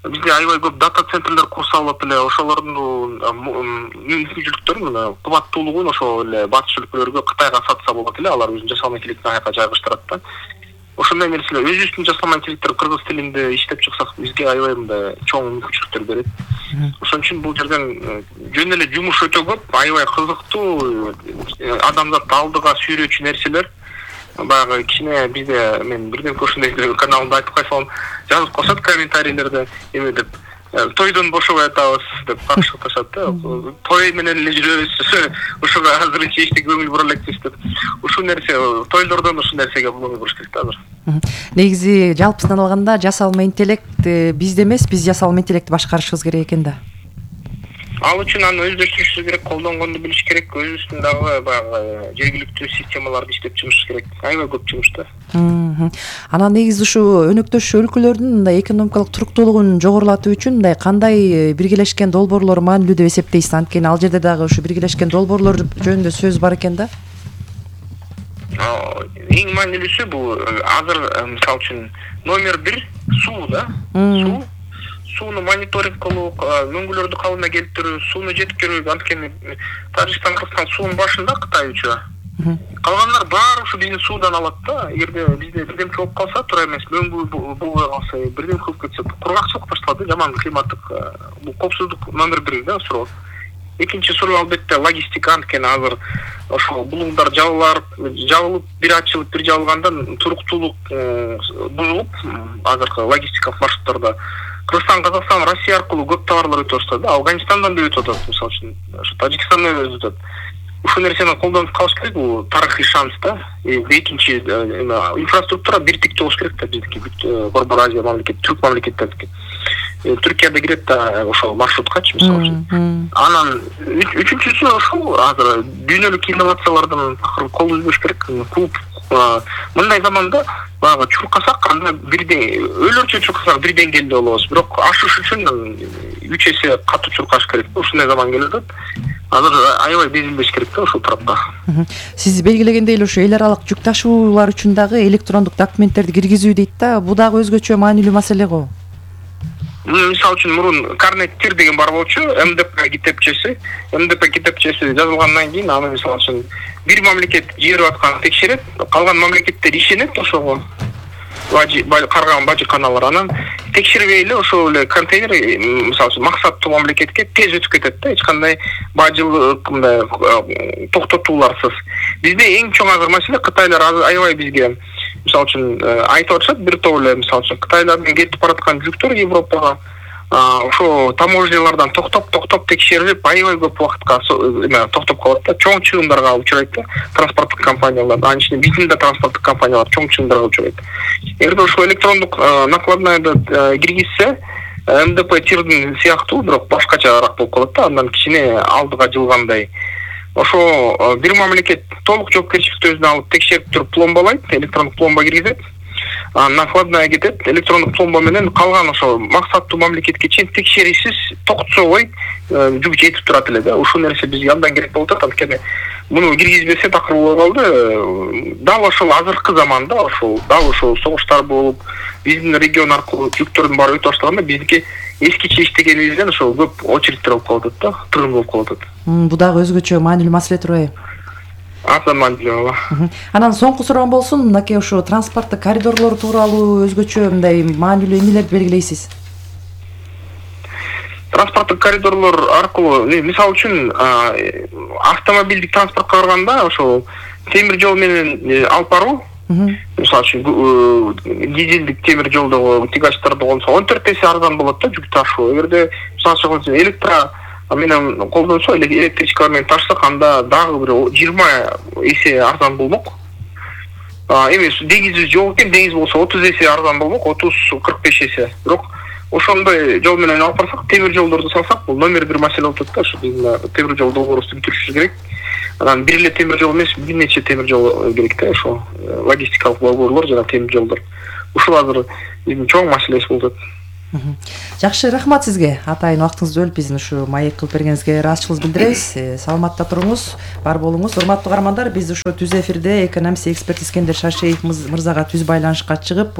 S20: бизде аябай көп дата центрлер курсалып эле, ошолордун мүмкүнчүлүктөрүн, кубаттуулугун ошол эле батыш өлкөлөргө, Кытайга сатса болот эле, алар өзүнүн жасалма интеллектин аяка жайгаштырат да. Ошондой нерселер өзүбүздүн жасалма интеллекттер кыргыз тилинде иштеп чыксак, бизге аябай мындай чоң мүмкүнчүлүктөр берет. Ошон үчүн бул жерден жөн эле жумуш өтө көп, аябай кызыктуу, адамзатты алдыга сүйрөөчү нерселер. Баягы кичине бизде мен бирдемке ошондой каналымда айтып койсом, жазып коюшат комментарийлерде, эме деп тойдон бошобой атабыз деп каршылашат да. Той менен эле жүрөбүз, ошого азырынча эчтеке көңүл бура элекпиз деп. Ушул нерсе тойлордон ушул нерсеге көңүл буруш керек да азыр.
S1: Негизи жалпысынан алганда жасалма интеллект бизде эмес, биз жасалма интеллектти башкарышыбыз керек экен да.
S20: Ал үчүн аны өздөштүрүш керек, колдонгонду билиш керек, өзүбүздүн дагы баягы жергиликтүү системаларды иштеп чыгыш керек. Аябай көп жумуш да.
S1: Анан негизи ушу өнөктөш өлкөлөрдүн мындай экономикалык туруктуулугун жогорулатуу үчүн мындай кандай биргелешкен долбоорлор маанилүү деп эсептейсиз? Анткени ал жерде дагы ушу биргелешкен долбоорлор жөнүндө сөз бар экен да.
S20: Эң маанилүүсү бул азыр мисалы үчүн номер 1 суу да. Сууну мониторинг кылуу, мөңгүлөрдү калыбына келтирүү, сууну жеткирүү. Анткени Тажикстан, Кыргызстан суунун башында, Кытай үчү. Калгандар баары ушу биздин суудан алат да. Эгерде бизде бирдемке болуп калса, туура эмес, мөңгү болбой калса, бирдемке болуп кетсе, кургакчылык башталат, жаман климаттык. Бул коопсуздук номер 1 да суроо. Экинчи суроо албетте логистика. Анткени азыр ошол булуңдар жабылып, бир ачылып, бир жабылгандан туруктуулук бузулуп, азыркы логистикалык маршруттарда Кыргызстан, Казакстан, Россия аркылуу көп товарлар өтүп атат да. Афганистандан да өтүп атат, мисалы үчүн, Тажикстандан да өтүп атат. Ушул нерсени колдонуп калыш керек, бул тарыхый шанс да. Экинчи инфраструктура биртиктүү болуш керек да, биздики Борбор Азия мамлекет, түрк мамлекеттердики. Түркияда кирет да ошол маршруткачы, мисалы үчүн. Анан үчүнчүсү ошол азыр дүйнөлүк инновациялардан кол үзбөш керек. Клуб мындай заманда баягы чуркасак, анда бирден өлөрчө чуркасак бир деңгээлде болобуз. Бирок ашыш үчүн 3 эсе катуу чуркаш керек. Ушундай заман келип атат. Азыр аябай безилбеш керек да ушул тарапта.
S1: Сиз белгилегендей эле ушу эл аралык жүк ташуулар үчүн дагы электрондук документтерди киргизүү дейт да. Бул дагы өзгөчө маанилүү маселе го.
S20: Мисалы үчүн мурун карнет тир деген бар болчу, МДП китепчеси жазылгандан кийин аны мисалы үчүн бир мамлекет жиберип атканын текшерет, калган мамлекеттер ишенет ошого. Карган бажыканалар анан текшербей эле ошол эле контейнер мисалы үчүн максаттуу мамлекетке тез өтүп кетет да, эч кандай бажылык мындай токтотууларсыз. Бизде эң чоң азыр маселе Кытайлар аябай бизге мисалы үчүн айтып атышат, бир топ эле мисалы үчүн Кытайлардан кетип бараткан жүктөр Европага ошо таможнялардан токтоп текшерилип, аябай көп убакытка токтоп калат да, чоң чыгымдарга учурайт да, транспорттук компаниялар, анын ичинде биздин да транспорттук компаниялар чоң чыгымдарга учурайт. Эгерде ошо электрондук накладнайды киргизсе, МДП тирдин сыяктуу, бирок башкачараак болуп калат да, андан кичине алдыга жылгандай. Ошо бир мамлекет толук жоопкерчиликти өзүнө алып текшерип туруп пломбалайт, электрондук пломба киргизет. Накладная кетет, электрондук пломба менен калган ошо максаттуу мамлекетке чейин текшеришсиз токтособой жүк жетип турат эле да. Ушул нерсе бизге абдан керек болуп атат, анткени муну киргизбесе такыр болуп калды. Дал ошол азыркы заманда ошол согуштар болуп, биздин регион аркылуу жүктөрдүн баары өтүп баштаганда биздики эскиче иштегенибизден ошол көп очередтер болуп калып атат да, тыгын болуп калып атат.
S1: Бул дагы өзгөчө маанилүү маселе турбайбы?
S20: Абдан маанилүү ооба.
S1: Анан соңку суроом болсун, мынакей ушу транспорттук коридорлор тууралуу өзгөчө мындай маанилүү эмнелерди белгилейсиз?
S20: Транспорттук коридорлор аркылуу мисалы үчүн автомобилдик транспортко барганда ошол темир жол менен алып баруу, мисалы үчүн дизелдик темир жолдогу тягачларды колдонсо 14 эсе арзан болот да жүк ташуу. Эгерде мисалы үчүн электро менен колдонсо, электричкалар менен ташсак, анда дагы бир 20 эсе арзан болмок. Эми деңиз жол экен, деңиз болсо 30 эсе арзан болмок, 30-45 эсе. Бирок ошондой жол менен алып барсак, темир жолдорду салсак, бул номер 1 маселе болуп атат да. Ошо темир жол долбоорубузду бүтүрүшүбүз керек. Анан бир эле темир жол эмес, бир нече темир жол керек да, ошо логистикалык долбоорлор жана темир жолдор. Ушул азыр биздин чоң маселебиз болуп атат.
S1: Жакшы, рахмат сизге. Атайын убактыңызды бөлүп биздин ушу маек кылып бергениңизге ыраазычылыгыбызды билдиребиз. Саламатта туруңуз, бар болуңуз. Урматтуу каармандар, биз ушу түз эфирде экономист эксперт Искендер Шашеев мырзага түз байланышка чыгып,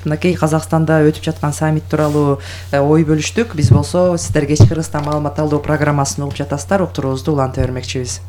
S1: мынакей Казакстанда өтүп жаткан саммит тууралуу ой бөлүштүк. Биз болсо сиздер кечки Кыргызстан маалымат алуу программасын угуп жатасыздар. Уктуруубузду уланта бермекчибиз.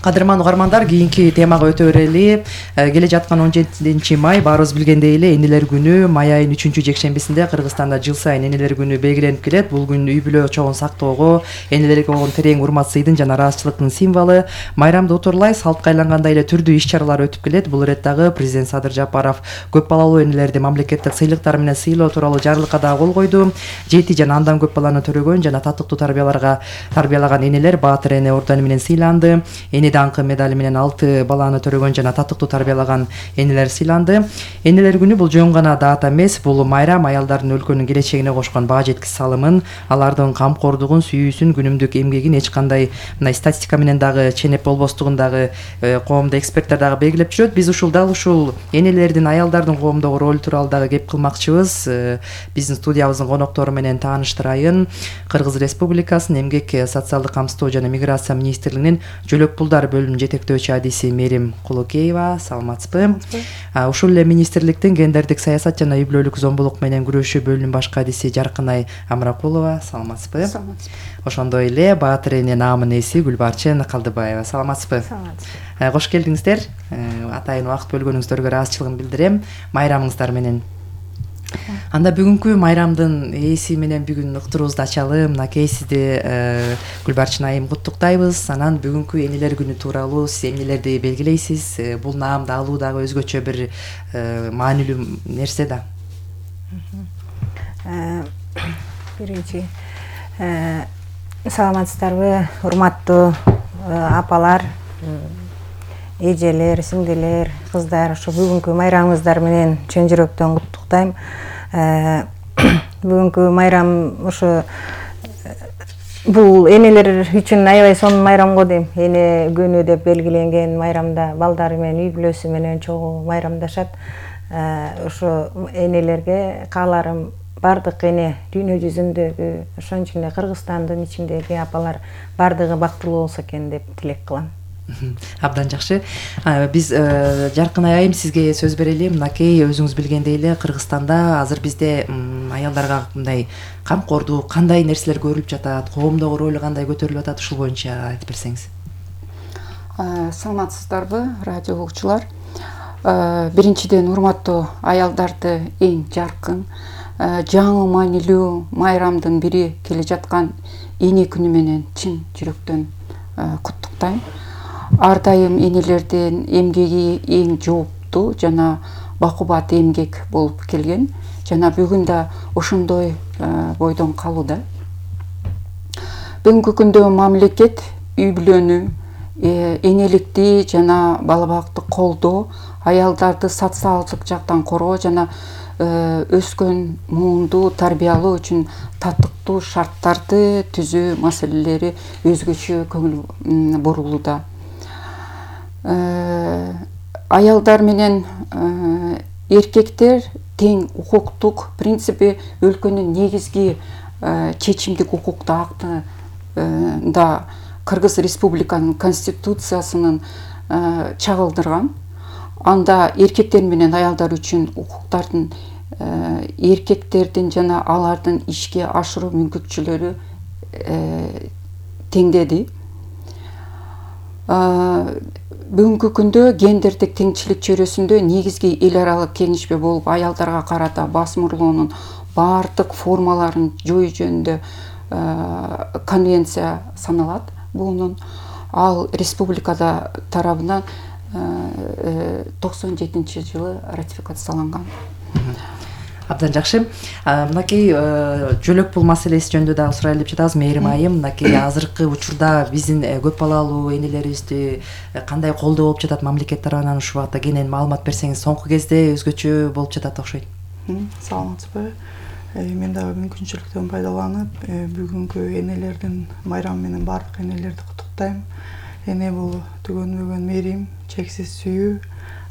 S1: Кадырман угармандар, кийинки темага өтө берели. Келе жаткан 17 май баарыбыз билгендей эле энелер күнү. Май айынын 3-жекшембисинде Кыргызстанда жыл сайын энелер күнү белгиленип келет. Бул күн үй бүлө чогун сактоого, энелерге болгон терең урмат сыйдын жана ыраазычылыктын символу. Майрамды утурлай салтка айлангандай эле түрдүү иш-чаралар өтүп келет. Бул иреттагы президент Садыр Жапаров көп балалуу энелерди мамлекеттик сыйлыктар менен сыйлоо тууралуу жарлыкка да кол койду. 7 жана андан көп баланы төрөгөн жана татыктуу тарбиялаган энелер Баатыр эне ордену менен сыйланды. Даңкы медали менен 6 баланы төрөгөн жана татыктуу тарбиялаган энелер сыйланды. Энелер күнү бул жөн гана дата эмес, бул майрам аялдардын өлкөнүн келечегине кошкон баа жеткис салымын, алардын камкордугун, сүйүүсүн, күнүмдүк эмгегин эч кандай мындай статистика менен дагы ченеп болбостугун дагы коомдо эксперттер дагы белгилеп жүрөт. Биз дал ушул энелердин, аялдардын коомдогу ролу тууралуу дагы кеп кылмакчыбыз. Биздин студиябыздын коноктору менен тааныштырайын. Кыргыз Республикасынын Эмгек, социалдык камсыздоо жана миграция министрлигинин жөлөк пулдар бөлүмүнүн жетектөөчү адиси Мерим Кулукеева, саламатсызбы? Ушул эле министрликтин гендердик саясат жана үй бүлөлүк зомбулук менен күрөшүү бөлүмүнүн башкы адиси Жаркынай Амракулова, саламатсызбы? Ошондой эле Баатыр эне наамынын ээси Гүлбарчын Калдыбаева, саламатсызбы? Кош келдиңиздер. Атайын убакыт бөлгөнүңүздөргө ыраазычылыгымды билдирем. Майрамыңыздар менен. Анда бүгүнкү майрамдын ээси менен бүгүн уктуруубузду ачалы. Мынакей сизди Гүлбарчын айым куттуктайбыз. Анан бүгүнкү энелер күнү тууралуу сиз эмнелерди белгилейсиз? Бул наамды алуу дагы өзгөчө бир маанилүү нерсе да.
S21: Биринчи саламатсыздарбы, урматтуу апалар, эжелер, сиңдилер, кыздар, ошо бүгүнкү майрамыңыздар менен чын жүрөктөн куттуктайм. Бүгүнкү майрам ошо бул энелер үчүн аябай сонун майрам го дейм. Эне күнү деп белгиленген майрамда балдары менен, үй бүлөсү менен чогуу майрамдашат. Ошо энелерге кааларым бардык эне дүйнө жүзүндөгү, ошон эле Кыргызстандын ичиндеги апалар бардыгы бактылуу болсо экен деп тилек кылам.
S1: Абдан жакшы. Биз Жаркынай айым сизге сөз берели. Мынакей өзүңүз билгендей эле Кыргызстанда азыр бизде аялдарга мындай камкордук кандай нерселер көрүлүп жатат, коомдогу ролу кандай көтөрүлүп атат, ушул боюнча айтып берсеңиз.
S22: Саламатсыздарбы, радио угуучулар. Биринчиден урматтуу аялдарды эң жаркын, жаңы маанилүү майрамдын бири келе жаткан эне күнү менен чын жүрөктөн куттуктайм. Ар дайым энелердин эмгеги эң жооптуу жана бакубат эмгек болуп келген жана бүгүн да ошондой бойдон калууда. Бүгүнкү күндө мамлекет үй бүлөнү, энеликти жана бала бакытты колдоо, аялдарды социалдык жактан коргоо жана өскөн муунду тарбиялоо үчүн татыктуу шарттарды түзүү маселелери өзгөчө көңүл бурулууда. Аялдар менен эркектер тең укуктук принципи өлкөнүн негизги чечимдик укуктуу актында Кыргыз Республиканын конституциясынын чагылдырган. Анда эркектер менен аялдар үчүн укуктардын, эркектердин жана алардын ишке ашыруу мүмкүнчүлүктөрү теңдеди. Бүгүнкү күндө гендердик теңчилик чөйрөсүндө негизги эл аралык кеңешме болуп аялдарга карата басым уруулоонун баардык формаларын жоюу жөнүндө конвенция саналат. Бунун ал республикада тарабынан 97-жылы ратификацияланган.
S1: Абдан жакшы. Мынакей жөлөк пул маселеси жөнүндө дагы сурайлы деп жатабыз. Мээрим айым, мынакей азыркы учурда биздин көп балалуу энелерибизди кандай колдоо болуп жатат мамлекет тарабынан ушул багытта кенен маалымат берсеңиз. Соңку кезде өзгөчө болуп жатат окшойт.
S3: Саламатсызбы? Мен дагы мүмкүнчүлүктөн пайдаланып, бүгүнкү энелердин майрамы менен баардык энелерди куттуктайм. Эне бул түгөнбөгөн мээрим, чексиз сүйүү.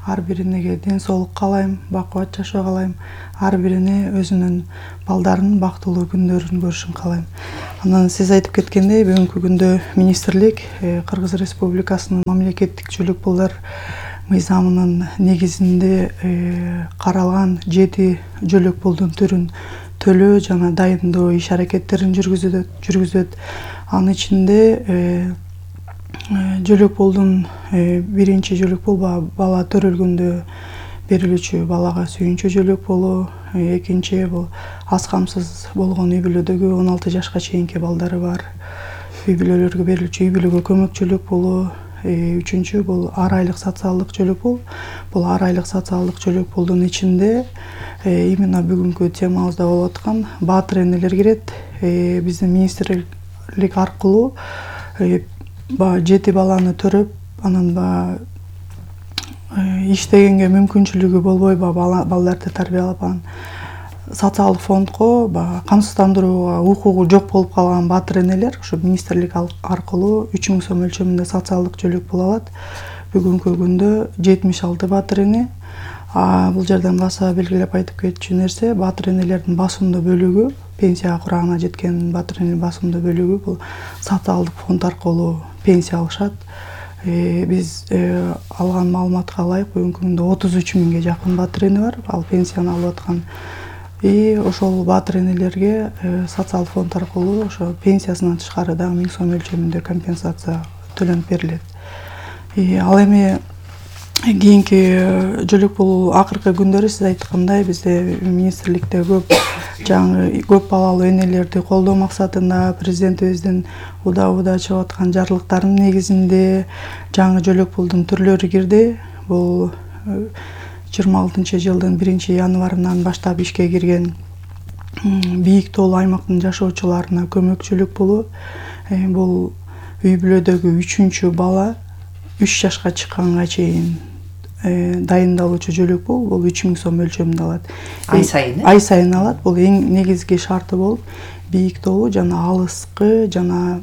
S3: Ар бирине ден соолук каалайм, бакубат жашоо каалайм. Ар бирине өзүнүн балдарынын бактылуу күндөрүн көрүшүн каалайм. Анан сиз айтып кеткендей, бүгүнкү күндө министрлик Кыргыз Республикасынын мамлекеттик жөлөк пулдар мыйзамынын негизинде каралган 7 жөлөк пулдун түрүн төлөө жана дайындоо иш аракеттерин жүргүзөт. Анын ичинде жөлөк пулдун биринчи жөлөк пул бала төрөлгөндө берилүүчү балага сүйүнчү жөлөк пулу, экинчи бул аз камсыз болгон үй бүлөдөгү 16 жашка чейинки балдары бар үй бүлөлөргө берилүүчү үй бүлөгө көмөк жөлөк пулу, үчүнчү бул ар айлык социалдык жөлөк пул. Бул ар айлык социалдык жөлөк пулдун ичинде именно бүгүнкү темабызда болуп аткан баатыр энелер кирет. Биздин министрлик аркылуу 7 баланы төрөп, анан иштегенге мүмкүнчүлүгү болбой балдарды тарбиялап, социалдык фондко камсыздандырууга укугу жок болуп калган баатыр энелер ушу министрлик аркылуу 3000 сом өлчөмүндө социалдык жөлөк пул алат. Бүгүнкү күндө 76 баатыр эне. Бул жерден баса белгилеп айтып кетчү нерсе, баатыр энелердин басымдуу бөлүгү, пенсия курагына жеткен баатыр энелердин басымдуу бөлүгү бул социалдык фонд аркылуу пенсия алышат. Биз алган маалыматка ылайык бүгүнкү күндө 33 миңге жакын баатыр эне бар, ал пенсияны алып аткан. Ошол баатыр энелерге социалдык фонд аркылуу ошо пенсиясынан тышкары дагы 1000 сом өлчөмүндө компенсация төлөнүп берилет. Ал эми кийинки жөлөк пул акыркы күндөрү сиз айткандай бизде министрликте көп балалуу энелерди колдоо максатында президентибиздин учурда чыгып аткан жарлыктарынын негизинде жаңы жөлөк пулдун түрлөрү кирди. Бул 26-жылдын 1-январынан баштап ишке кирген бийик тоолуу аймактын жашоочуларына көмөк жөлөк пулу. Бул үй бүлөдөгү 3-чү бала 3 жашка чыкканга чейин дайындалуучу жөлөк пул. Бул 3000 сом өлчөмүндө алат. Ай сайын алат. Бул эң негизги шарты болуп, бийик тоолуу жана алыскы жана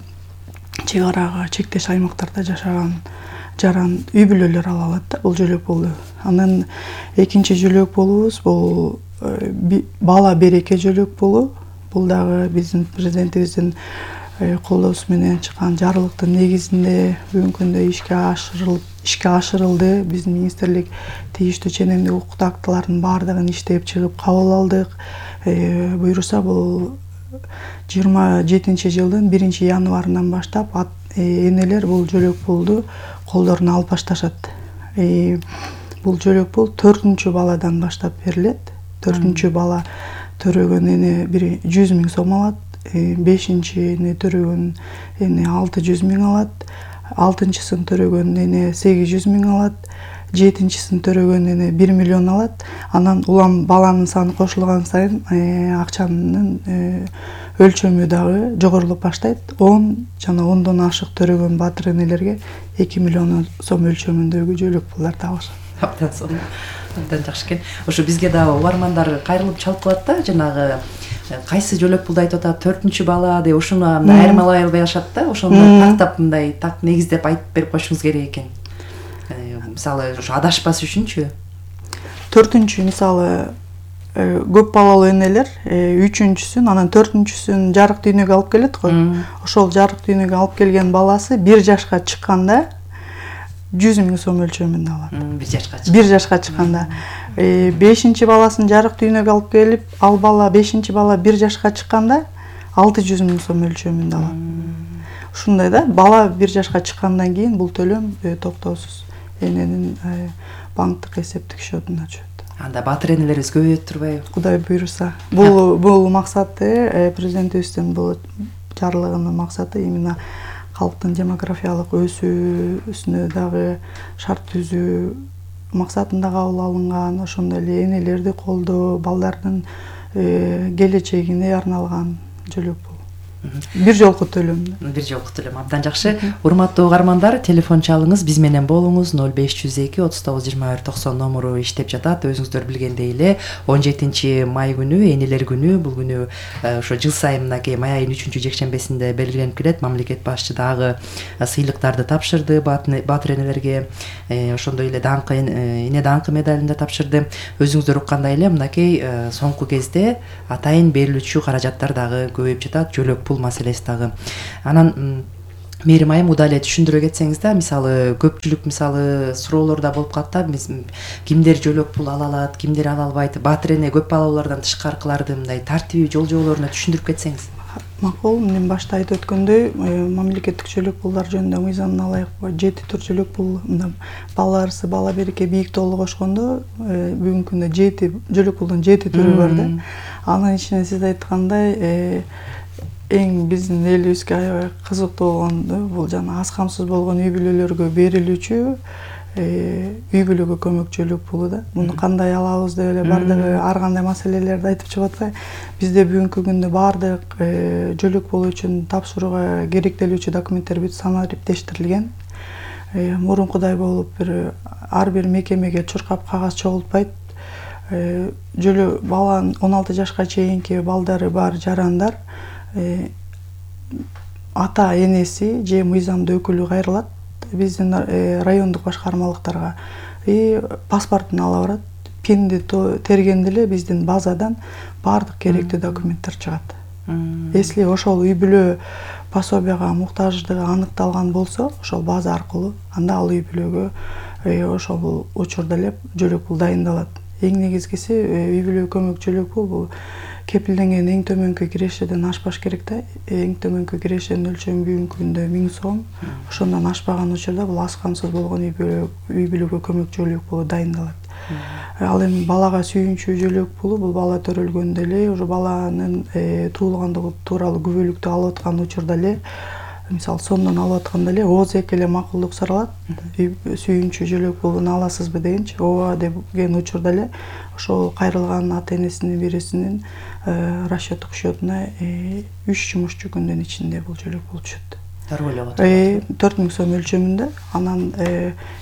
S3: чек арага чектеш аймактарда жашаган жаран үй бүлөлөр ала алат да бул жөлөк пулду. Анан экинчи жөлөк пулубуз бул бала береке жөлөк пулу. Бул дагы биздин президентибиздин колдоосу менен чыккан жарлыктын негизинде бүгүнкү күндө ишке ашырылды. Биздин министрлик тийиштүү ченемдик укуктуу актылардын баардыгын иштеп чыгып кабыл алдык. Буюрса бул 27-жылдын 1-январынан баштап энелер бул жөлөк пулду колдоруна алып башташат. Бул жөлөк пул 4-чү баладан баштап берилет. 4-чү бала төрөгөн эне 100 000 сом алат. 5-чи эне төрөгөн эне 600 000 алат. 6-чысын төрөгөн эне 800 000 алат. 7-чиsin төрөгөн эне 1 миллион алат. Анан улам баланын саны кошулган сайын акчанын өлчөмү дагы жогорулуп баштайт. 10 жана 10дон ашык төрөгөн баатыр энелерге 2 миллион сом өлчөмүндөгү жөлөк пулдарды алышат.
S1: Абдан жакшы экен. Ошо бизге дагы угармандар кайрылып чалып калат да, жанагы кайсы жөлөк пулду айтып атат, 4-чү бала деп ошону айырмалай албай алышат да. Ошону тактап мындай так негиздеп айтып берип койушуңуз керек экен. Мисалы ошо адашпас үчүнчү
S3: 4-чү мисалы көп балалуу энелер 3-чүсүн анан 4-чүсүн жарык дүйнөгө алып келет го. Ошол жарык дүйнөгө алып келген баласы 1 жашка чыкканда 100 000 сом өлчөмүндө алат. 1 жашка чыкканда. 5-чи баласын жарык дүйнөгө алып келип, ал бала 5-чи бала 1 жашка чыкканда 600 000 сом өлчөмүндө алат. ушундай да, бала 1 жашка чыккандан кийин бул төлөм токтоосуз эненин банктык эсептик счетуна түшөт.
S1: Анда батыр энелерибиз көбөйөт турбайбы?
S3: Кудай буйруса. Бул максаты президентибиздин бул жарлыгынын максаты именно калктын демографиялык өсүүсүнө дагы шарт түзүү максатында кабыл алынган, ошондой эле энелерди колдоо, балдардын келечегине арналган жөлөк бул. Бир жолку төлөм.
S1: Бир жолку төлөм. Абдан жакшы. Урматтуу угармандар, телефон чалыңыз, биз менен болуңуз. 0502 39 21 90 номуру иштеп жатат. Өзүңүздөр билгендей эле 17 май күнү энелер күнү. Бул күнү ошо жыл сайын мынакей май айынын 3-жекшембесинде белгиленип келет. Мамлекет башчы дагы сыйлыктарды тапшырды батыр энелерге. Ошондой эле даңкы эне даңкы медалин да тапшырды. Өзүңүздөр уккандай эле мынакей соңку кезде атайын берилүүчү каражаттар дагы көбөйүп жатат. Жөлөк пул маселеси дагы. Анан Мээрим айым удаа эле түшүндүрө кетсеңиз да, мисалы көпчүлүк суроолор да болуп калат да, кимдер жөлөк пул ала алат, кимдер ала албайт, батыр эне көп балалуулардан тышкаркыларды мындай тартиби жолжоболоруна түшүндүрүп кетсеңиз.
S3: Макул, мен башта айтып өткөндөй, мамлекеттик жөлөк пулдар жөнүндө мыйзамына ылайык 7 тур жөлөк пул, бала арсы, бала береке, бийик тоолу кошкондо бүгүнкү күндө 7 жөлөк пулдун 7 түрү бар да. Анын ичинен сиз айткандай эң биздин элибизге аябай кызыктуу болгону бул жана аз камсыз болгон үй бүлөлөргө берилүүчү үй бүлөгө көмөк жөлөк пулу да. Муну кандай алабыз деп эле бардыгы ар кандай маселелерди айтып чыгып атпайбы? Бизде бүгүнкү күндө бардык жөлөк пулу үчүн тапшырууга керектелүүчү документтер бүт санариптештирилген. Мурункудай болуп ар бир мекемеге чуркап кагаз чогултпайт. Баланын 16 жашка чейинки балдары бар жарандар ата энеси же мыйзамдуу өкүлү кайрылат биздин райондук башкармалыктарга паспортун ала барат. Пинди тергенде эле биздин базадан бардык керектүү документтер чыгат. Если ошол үй бүлө пособияга муктаждыгы аныкталган болсо, ошол база аркылуу анда ал үй бүлөгө ошол учурда эле жөлөк пул дайындалат. Эң негизгиси үй бүлөгө көмөк жөлөк пул бул кепилденген эң төмөнкү кирешеден ашпаш керек да. Эң төмөнкү кирешенин өлчөмү бүгүнкү күндө 1000 сом. Ошондон ашпаган учурда бул аз камсыз болгон үй бүлөгө көмөк жөлөк пулу дайындалат. Ал эми балага сүйүнчү жөлөк пулу бул бала төрөлгөндө эле, уже баланын туулгандыгы тууралуу күбөлүктү алып аткан учурда эле, мисалы сондон алып атканда эле ооз эле макулдук суралат. Сүйүнчү жөлөк пулуну аласызбы дегенчи, ооба деген учурда эле ошол кайрылган ата энесинин бирисинин расчеттик счетуна 3 жумушчу күндүн ичинде бул жөлөк пул түшөт. 4000 сом өлчөмүндө. Анан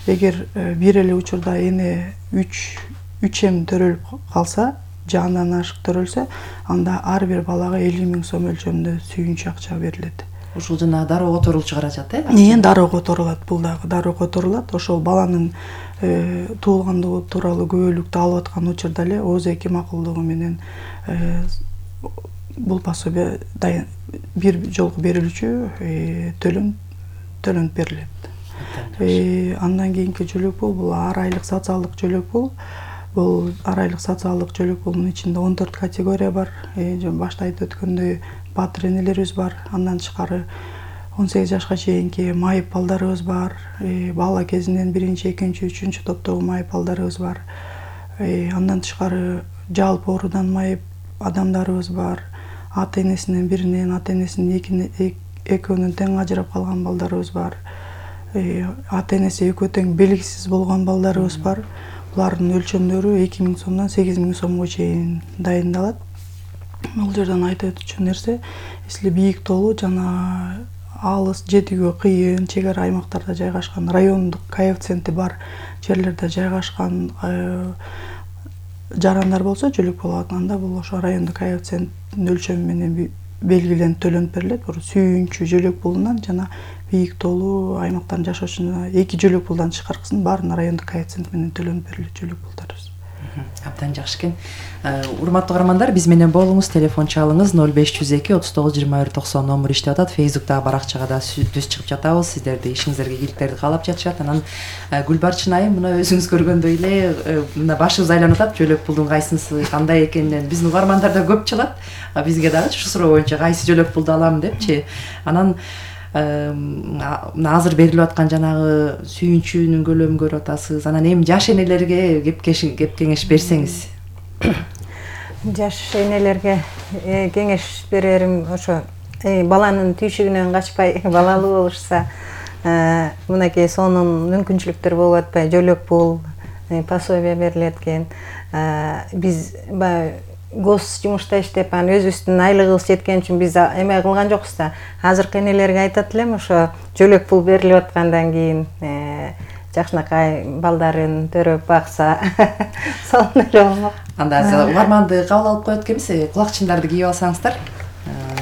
S3: эгер бир эле учурда эне 3 эм төрөлүп калса, же андан ашык төрөлсө, анда ар бир балага 50.000 сом өлчөмүндө сүйүнчү акча берилет.
S1: Ушул жана дароо которулчу каражат
S3: Дароо которулат, бул дагы дароо которулат. Ошол баланын туулгандыгы тууралуу күбөлүктү алып аткан учурда эле ооз-эки макулдугу менен бул пособия бир жолку берилүүчү төлөнүп берилет. Андан кийинки жөлөк пул бул ар айлык социалдык жөлөк пул. Бул ар айлык социалдык жөлөк пулунун ичинде 14 категория бар. Башта айтып өткөндөй батыр энелерибиз бар. Андан тышкары 18 жашка чейинки майып балдарыбыз бар. Бала кезинен 1-2, 3 топтогу майып балдарыбыз бар. Андан тышкары жалпы оорудан майып адамдарыбыз бар. Ата энесинин биринен, ата энесинин экөөнүн тең ажырап калган балдарыбыз бар. Ата энеси экөө тең белгисиз болгон балдарыбыз бар. Булардын өлчөмдөрү 2000 сомдон 8000 сомго чейин дайындалат. Бул жерден айтып өтчү нерсе, если бийик тоолуу жана алыс, жетүүгө кыйын, чек ара аймактарда жайгашкан, райондук коэффициенти бар жерлерде жайгашкан жарандар болсо, жөлөк пул алганда бул ошо райондук коэффициенттин өлчөмү менен белгиленип төлөнүп берилет. Сүйүнчү жөлөк пулунан жана бийик тоолуу аймактарда жашоочуна 2 жөлөк пулдан тышкаркысын баарына райондук коэффициент менен төлөнүп берилет жөлөк пулдарыбыз.
S1: Абдан жакшы экен. Урматтуу каармандар, биз менен болуңуз, телефон чалыңыз 0502 39 21 90 номер иштеп атат. Facebook'та баракчага да түз чыгып жатабыз. Сиздерди ишиңиздерге ийгиликтерди каалап жатышат. Анан Гүлбарчын айым, мына өзүңүз көргөндөй эле мына башыбыз айланып атат, жөлөк пулдун кайсынысы кандай экенинен биздин угармандар да көп чалат. Бизге дагы ушу суроо боюнча кайсы жөлөк пулду алам депчи. Анан азыр берилип аткан жанагы сүйүнчүүнүн көлөмүн көрүп атасыз. Анан эми жаш энелерге кеп кеңеш берсеңиз.
S21: Жаш энелерге кеңеш берерим ошо баланын түйшүгүнөн качпай балалуу болушса, мынакей сонун мүмкүнчүлүктөр болуп атпай, жөлөк пул, пособие берилет экен. Биз баягы гос жумушта иштеп, анан өзүбүздүн айлыгыбыз жеткен үчүн биз эме кылган жокпуз да. Азыркы энелерге айтат элем, ошо жөлөк пул берилип аткандан кийин жакшынакай балдарын төрөп бакса, сонун эле болмок.
S1: Анда угарманды кабыл алып коет экенбиз, кулакчындарды кийип алсаңыздар.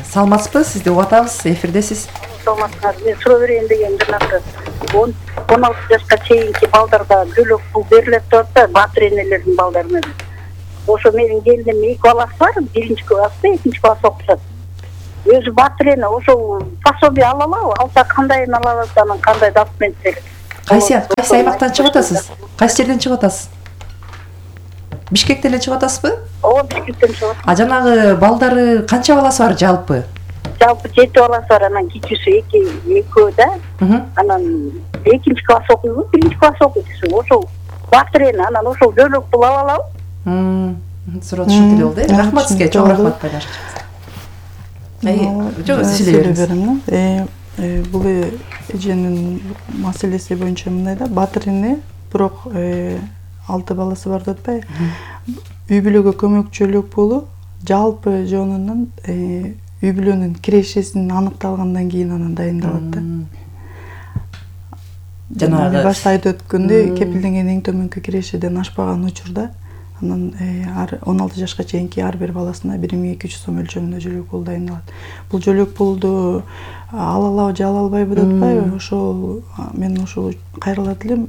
S1: Саламатсызбы? Сизди угуп атабыз, эфирдесиз.
S4: Саламатсызбы? Мен суроо берейин дегем, жанагы 16 жашка чейинки балдарга жөлөк пул берилет деп атат, батыр энелердин балдарына. Ошо менин келиним 2 баласы бар, 1-чи класста, 2-чи класс окушат. Өзү батыр эне, ошо пособие ала алабы? Алса кандайын ала алат, анан кандай документ керек?
S1: Кайсы аймактан чыгып атасыз? Кайсы жерден чыгып атасыз? Бишкектен эле чыгып атасызбы?
S4: Ооба, Бишкектен чыгып атам.
S1: Жанагы балдары канча баласы бар жалпы?
S4: Жалпы 7 баласы бар, анан кичүүсү экөө да. Анан 2-чи класс окуйбу, 1-чи класс окуйт. Ошол батыр эне, анан ошол жөлөк пул ала алабы?
S1: Суроо түшүнүктүү болду. Рахмат сизге, чоң рахмат байлаш. Жок, силер бериңиз.
S3: Бул эженин маселеси боюнча мындай да, батыр эне, бирок 6 баласы бар деп атпайбы? Үй бүлөгө көмөкчүлүк пулу жалпы жонунун үй бүлөнүн кирешесин аныкталгандан кийин анан дайындалат да. Жанагы башта айтып өткөндөй, кепилденген эң төмөнкү кирешеден ашпаган учурда анан 16 жашка чейинки ар бир баласына 1200 сом өлчөмүндө жөлөк пул дайындалат. Бул жөлөк пулду ала алабы же ала албайбы деп атпайбы? Ошол мен ошол кайрылат элем.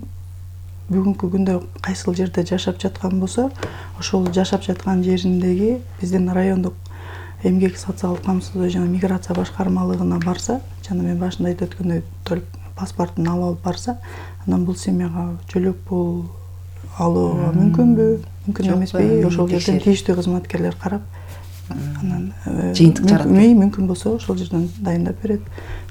S3: Бүгүнкү күндө кайсыл жерде жашап жаткан болсо, ошол жашап жаткан жериндеги биздин райондук эмгек социалдык камсыздоо жана миграция башкармалыгына барса, жана мен башында айтып өткөндөй паспортун алып барса, анан бул семьяга жөлөк пул алууга мүмкүнбү, мүмкүн эмеспи? Ошол жерден тийиштүү кызматкерлер карап, анан жыйынтык жаратып, мүмкүн болсо ошол жерден дайындап берет,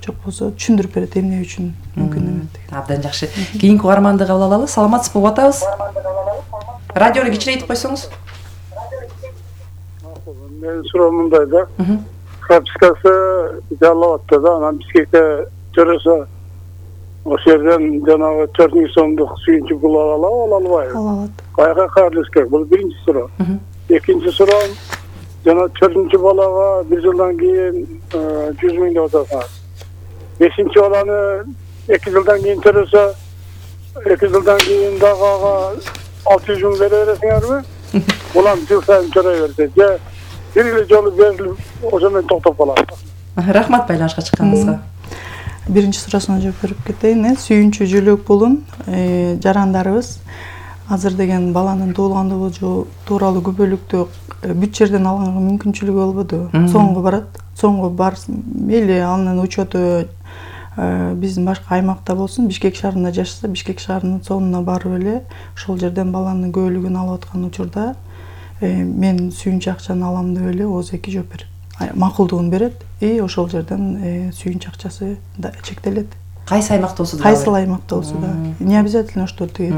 S3: жок болсо түшүндүрүп берет эмне үчүн мүмкүн эмес деген.
S1: Абдан жакшы. Кийинки угарманды кабыл алалы. Саламатсызбы? Угуп атабыз. Радиону кичирейтип койсоңуз.
S5: Менин суроом мындай да. Пропискасы жалап атты да, анан Бишкекте төрөсө ошол жерден жанагы 4000 сомдук сүйүнчү пул ала албайбы? Ала алат. Кайга кайрылыш керек? Бул биринчи суроо. Экинчи суроом, жана 4-чү балага 1 жылдан кийин 100 миң деп атасыңар. 5-чи баланы 2 жылдан кийин төрөсө, 2 жылдан кийин дагы ага 600 миң бере бересиңерби? Улам жыл сайын төрөй берсе, же бир эле жолу берилип, ошо менен токтоп калат.
S1: Рахмат байланышка чыкканыңызга.
S3: Биринчи суроосуна жооп берип кетейин. Сүйүнчү жөлөк пулун жарандарыбыз азыр деген баланын туулгандыгы тууралуу күбөлүктү бүт жерден алганга мүмкүнчүлүгү болбоду. Соңго барат. Соңго барсын, мейли анын учету биздин башка аймакта болсун, Бишкек шаарында жашаса, Бишкек шаарынын сонуна барып эле ошол жерден баланын көбөлүгүн алып аткан учурда мен сүйүнчү акчаны алам деп эле ОЗЭК жооп берет. Макулдугун берет ошол жерден сүйүнчү акчасы чектелет.
S1: Кайсы аймакта болсо да?
S3: Кайсыл аймакта болсо да. Не обязательно что тиги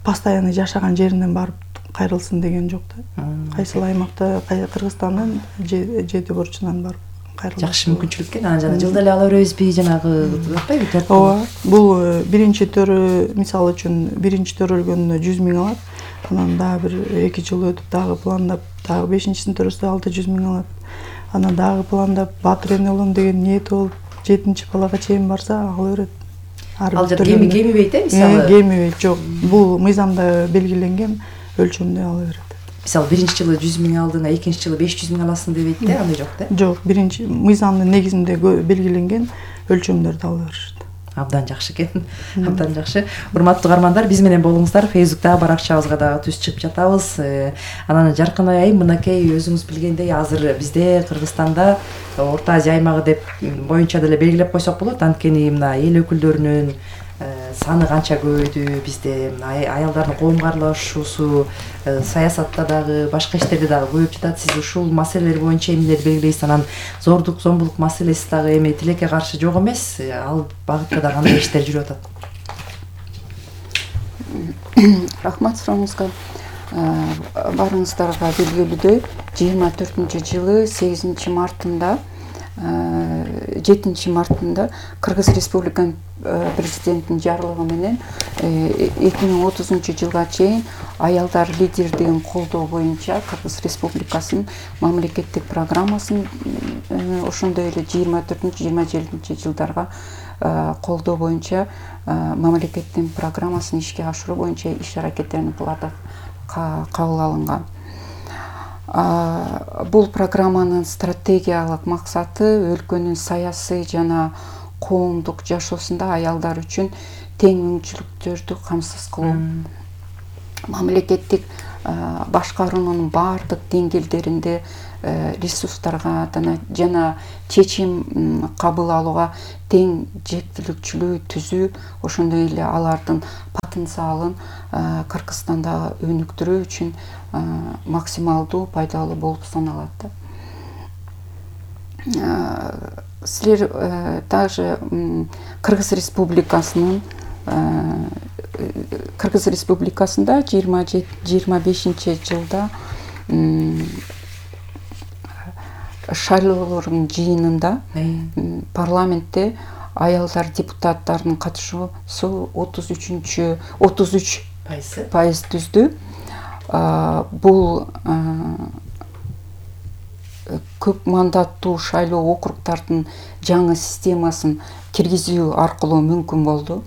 S3: постоянно жашаган жеринен барып кайрылсын деген жок да. Кайсыл аймакта, Кыргызстандын 7 бурчунан барып кайрылат.
S1: Жакшы мүмкүнчүлүк экен. Анан жана жылда эле ала беребизби, жанагы атпайбы?
S3: Ооба. Бул биринчи төрө, мисалы үчүн, биринчи төрөлгөндө 100 миң алат. Анан дагы бир 2 жыл өтүп дагы пландап, дагы 5-чисин төрөсө 600 миң алат. Анан дагы пландап батыр эне болом деген ниети болуп 7-чи балага чейин барса ала берет.
S1: Ал жер кемибейт, мисалы?
S3: Кемибейт, жок. Бул мыйзамда белгиленген өлчөмдө ала берет.
S1: Мисалы, биринчи жылы 100 миң алдың, экинчи жылы 500 миң аласың дебейт да, андай жок да?
S3: Жок, биринчи мыйзамдын негизинде белгиленген өлчөмдөрдү ала беришет.
S1: Абдан жакшы экен. Абдан жакшы. Урматтуу угармандар, биз менен болуңуздар. Фейсбуктагы баракчабызга дагы түз чыгып жатабыз. Анан Жаркынай айым, мынакей өзүңүз билгендей, азыр бизде Кыргызстанда Орто Азия аймагы деп боюнча деле белгилеп койсок болот. Анткени мына эл өкүлдөрүнүн саны канча көбөйдү бизде, аялдардын коомго аралашуусу саясатта дагы башка иштерде дагы көбөйүп жатат. Сиз ушул маселелер боюнча эмнелерди белгилейсиз? Анан зордук зомбулук маселеси дагы эми тилекке каршы жок эмес, ал багытта да кандай иштер жүрүп атат?
S22: Рахмат сурооңузга. Барыңыздарга белгилүүдөй 24-жылы 8 мартында 7 мартында Кыргыз Республиканын президентинин жарлыгы менен 2030 жылга чейин аялдар лидердигин колдоо боюнча Кыргыз Республикасынын мамлекеттик программасын ошондой эле 24-27 жылдарга колдоо боюнча мамлекеттин программасын ишке ашыруу боюнча иш аракеттерин кылат кабыл алынган. Бул программанын стратегиялык максаты өлкөнүн саясий жана коомдук жашоосунда аялдар үчүн тең мүмкүнчүлүктөрдү камсыз кылуу. Мамлекеттик башкаруунун баардык деңгээлдеринде ресурстарга жана чечим кабыл алууга тең жеткиликчилүү түзүү, ошондой эле алардын потенциалын Кыргызстанда өнүктүрүү үчүн максималдуу пайдалуу болуп саналат. Силер также Кыргыз Республикасында 25 жылда шайлоолордун жыйынында парламентте аялдар депутаттарынын катышуусу 33% түздү. Бул көп мандаттуу шайлоо округдардын жаңы системасын киргизүү аркылуу мүмкүн болду.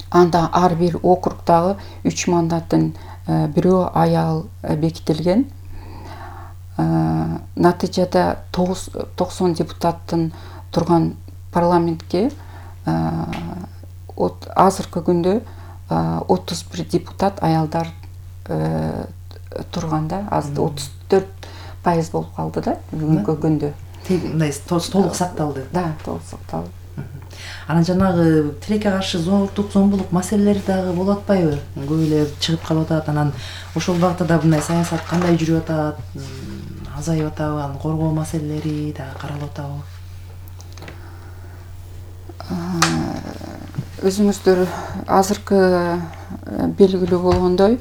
S22: Анда ар бир округдагы 3 мандаттын бирөө аял бекитилген. Натыйжада 90 депутаттын турган парламентке азыркы күндө 31 депутат аялдар турганда, азыр 34% болуп калды да бүгүнкү күндө.
S1: Мындай толук сакталды.
S22: Да, толук сакталды.
S1: Анан жанагы тилекке каршы зордук зомбулук маселелери дагы болуп атпайбы? Көп эле чыгып калып атат. Анан ошол багытта да мындай саясат кандай жүрүп атат? Азайып атабы? Аны коргоо маселелери дагы каралып атабы?
S22: Өзүңүздөр азыркы белгилүү болгондой,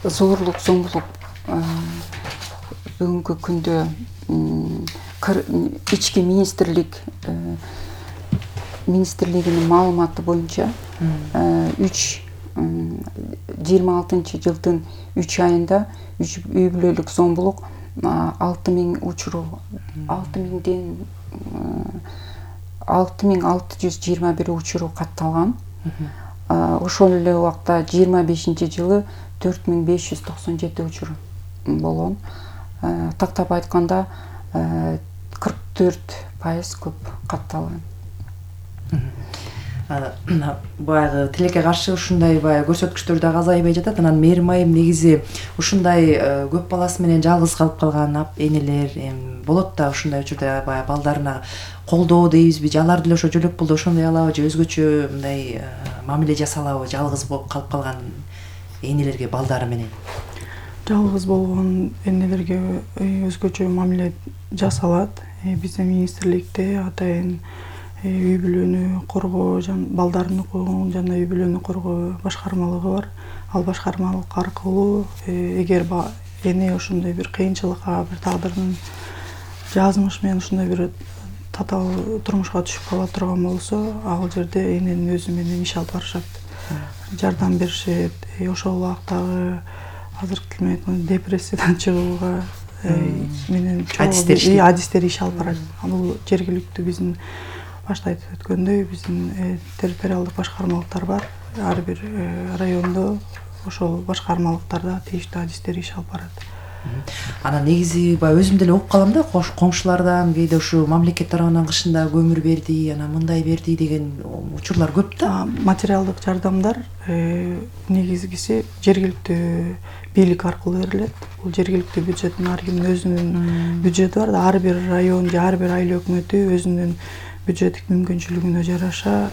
S22: зорлук зомбулук бүгүнкү күндө ички министрлигинин маалыматы боюнча 26 жылдын 3 айында үй бүлөлүк зомбулук 6000 учуру 6621 учуру катталган. Ошол эле убакта 25-жылы 4597 учур болгон. Тактап айтканда 44% көп катталган.
S1: Баягы тилекке каршы ушундай баягы көрсөткүчтөр дагы азайбай жатат. Анан мээрим айым негизи ушундай көп баласы менен жалгыз калып калган энелер болот да, ушундай учурда баягы балдарына колдоо дейбизби, же алар деле ошо жөлөк пулду ошондой алабы, же өзгөчө мындай мамиле жасалабы жалгыз болуп калып калган энелерге балдары менен?
S3: Жалгыз болгон энелерге өзгөчө мамиле жасалат. Биздин министрликте атайын үй бүлөнү коргоо жана балдардын укугун жана үй бүлөнү коргоо башкармалыгы бар. Ал башкармалык аркылуу эгер эне ошондой бир кыйынчылыкка, бир тагдырдын жазмыш менен ушундай бир татаал турмушка түшүп кала турган болсо, ал жерде эненин өзү менен иш алып барышат. Жардам беришет. Ошол убактагы азыркы депрессиядан чыгууга менен адистер иш алып барат. Бул жергиликтүү биздин башта айтып өткөндөй биздин территориалдык башкармалыктар бар. Ар бир райондо ошол башкармалыктарда тийиштүү адистер иш алып барат.
S1: Анан негизи баягы өзүм деле угуп калам да, коңшулардан кээде ушу мамлекет тарабынан кышында көмүр берди, анан мындай берди деген учурлар көп да.
S3: Материалдык жардамдар негизгиси жергиликтүү бийлик аркылуу берилет. Бул жергиликтүү бюджеттин ар кимдин өзүнүн бюджети бар да, ар бир район же ар бир айыл өкмөтү өзүнүн бюджеттик мүмкүнчүлүгүнө жараша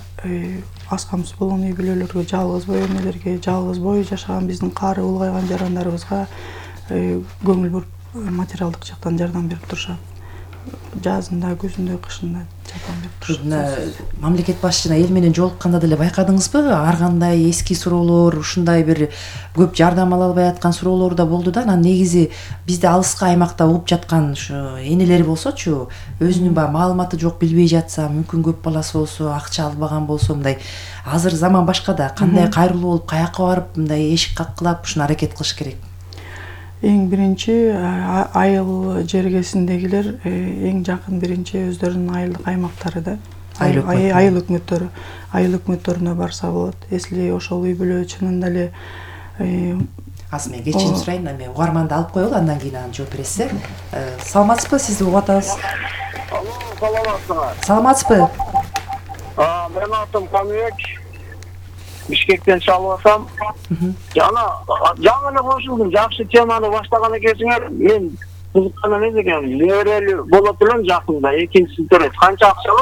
S3: аз камсыз болгон үй бүлөлөргө, жалгыз бой энелерге, жалгыз бой жашаган биздин кары улгайган жарандарыбызга көңүл буруп материалдык жактан жардам берип турушат. Жазында, күзүндө, кышында жардам берип турушат.
S1: Мамлекет башчына эл менен жолукканда деле байкадыңызбы? Ар кандай эски суроолор, ушундай бир көп жардам ала албай аткан суроолор да болду да. Анан негизи бизде алыскы аймакта угуп жаткан ушу энелер болсочу, өзүнүн баягы маалыматы жок, билбей жатса, мүмкүн көп баласы болсо, акча албаган болсо, мындай азыр заман башка да, кандай кайрылуу болуп, каяка барып мындай эшик каккылап ушуну аракет кылыш керек?
S3: Эң биринчи айыл жергесиндегилер эң жакын биринчи өздөрүнүн айылдык аймактары да. Айыл өкмөттөрү. Айыл өкмөттөрүнө барса болот. Если ошол үй бүлө чынында эле
S1: азыр мен кечирим сурайын, мен угарманды алып коелу, андан кийин аны жооп бересиз. Саламатсызбы? Сизди угуп атабыз. Саламатсызбы?
S5: Менин атым Камибек. Бишкектен чалып атам. Жаңы эле кошулдум. Жакшы теманы баштаган экенсиңер. Мен кызыккан эмес экенмин. Неберелүү болот элем жакында. Экинчиси төрөйт. Канча акча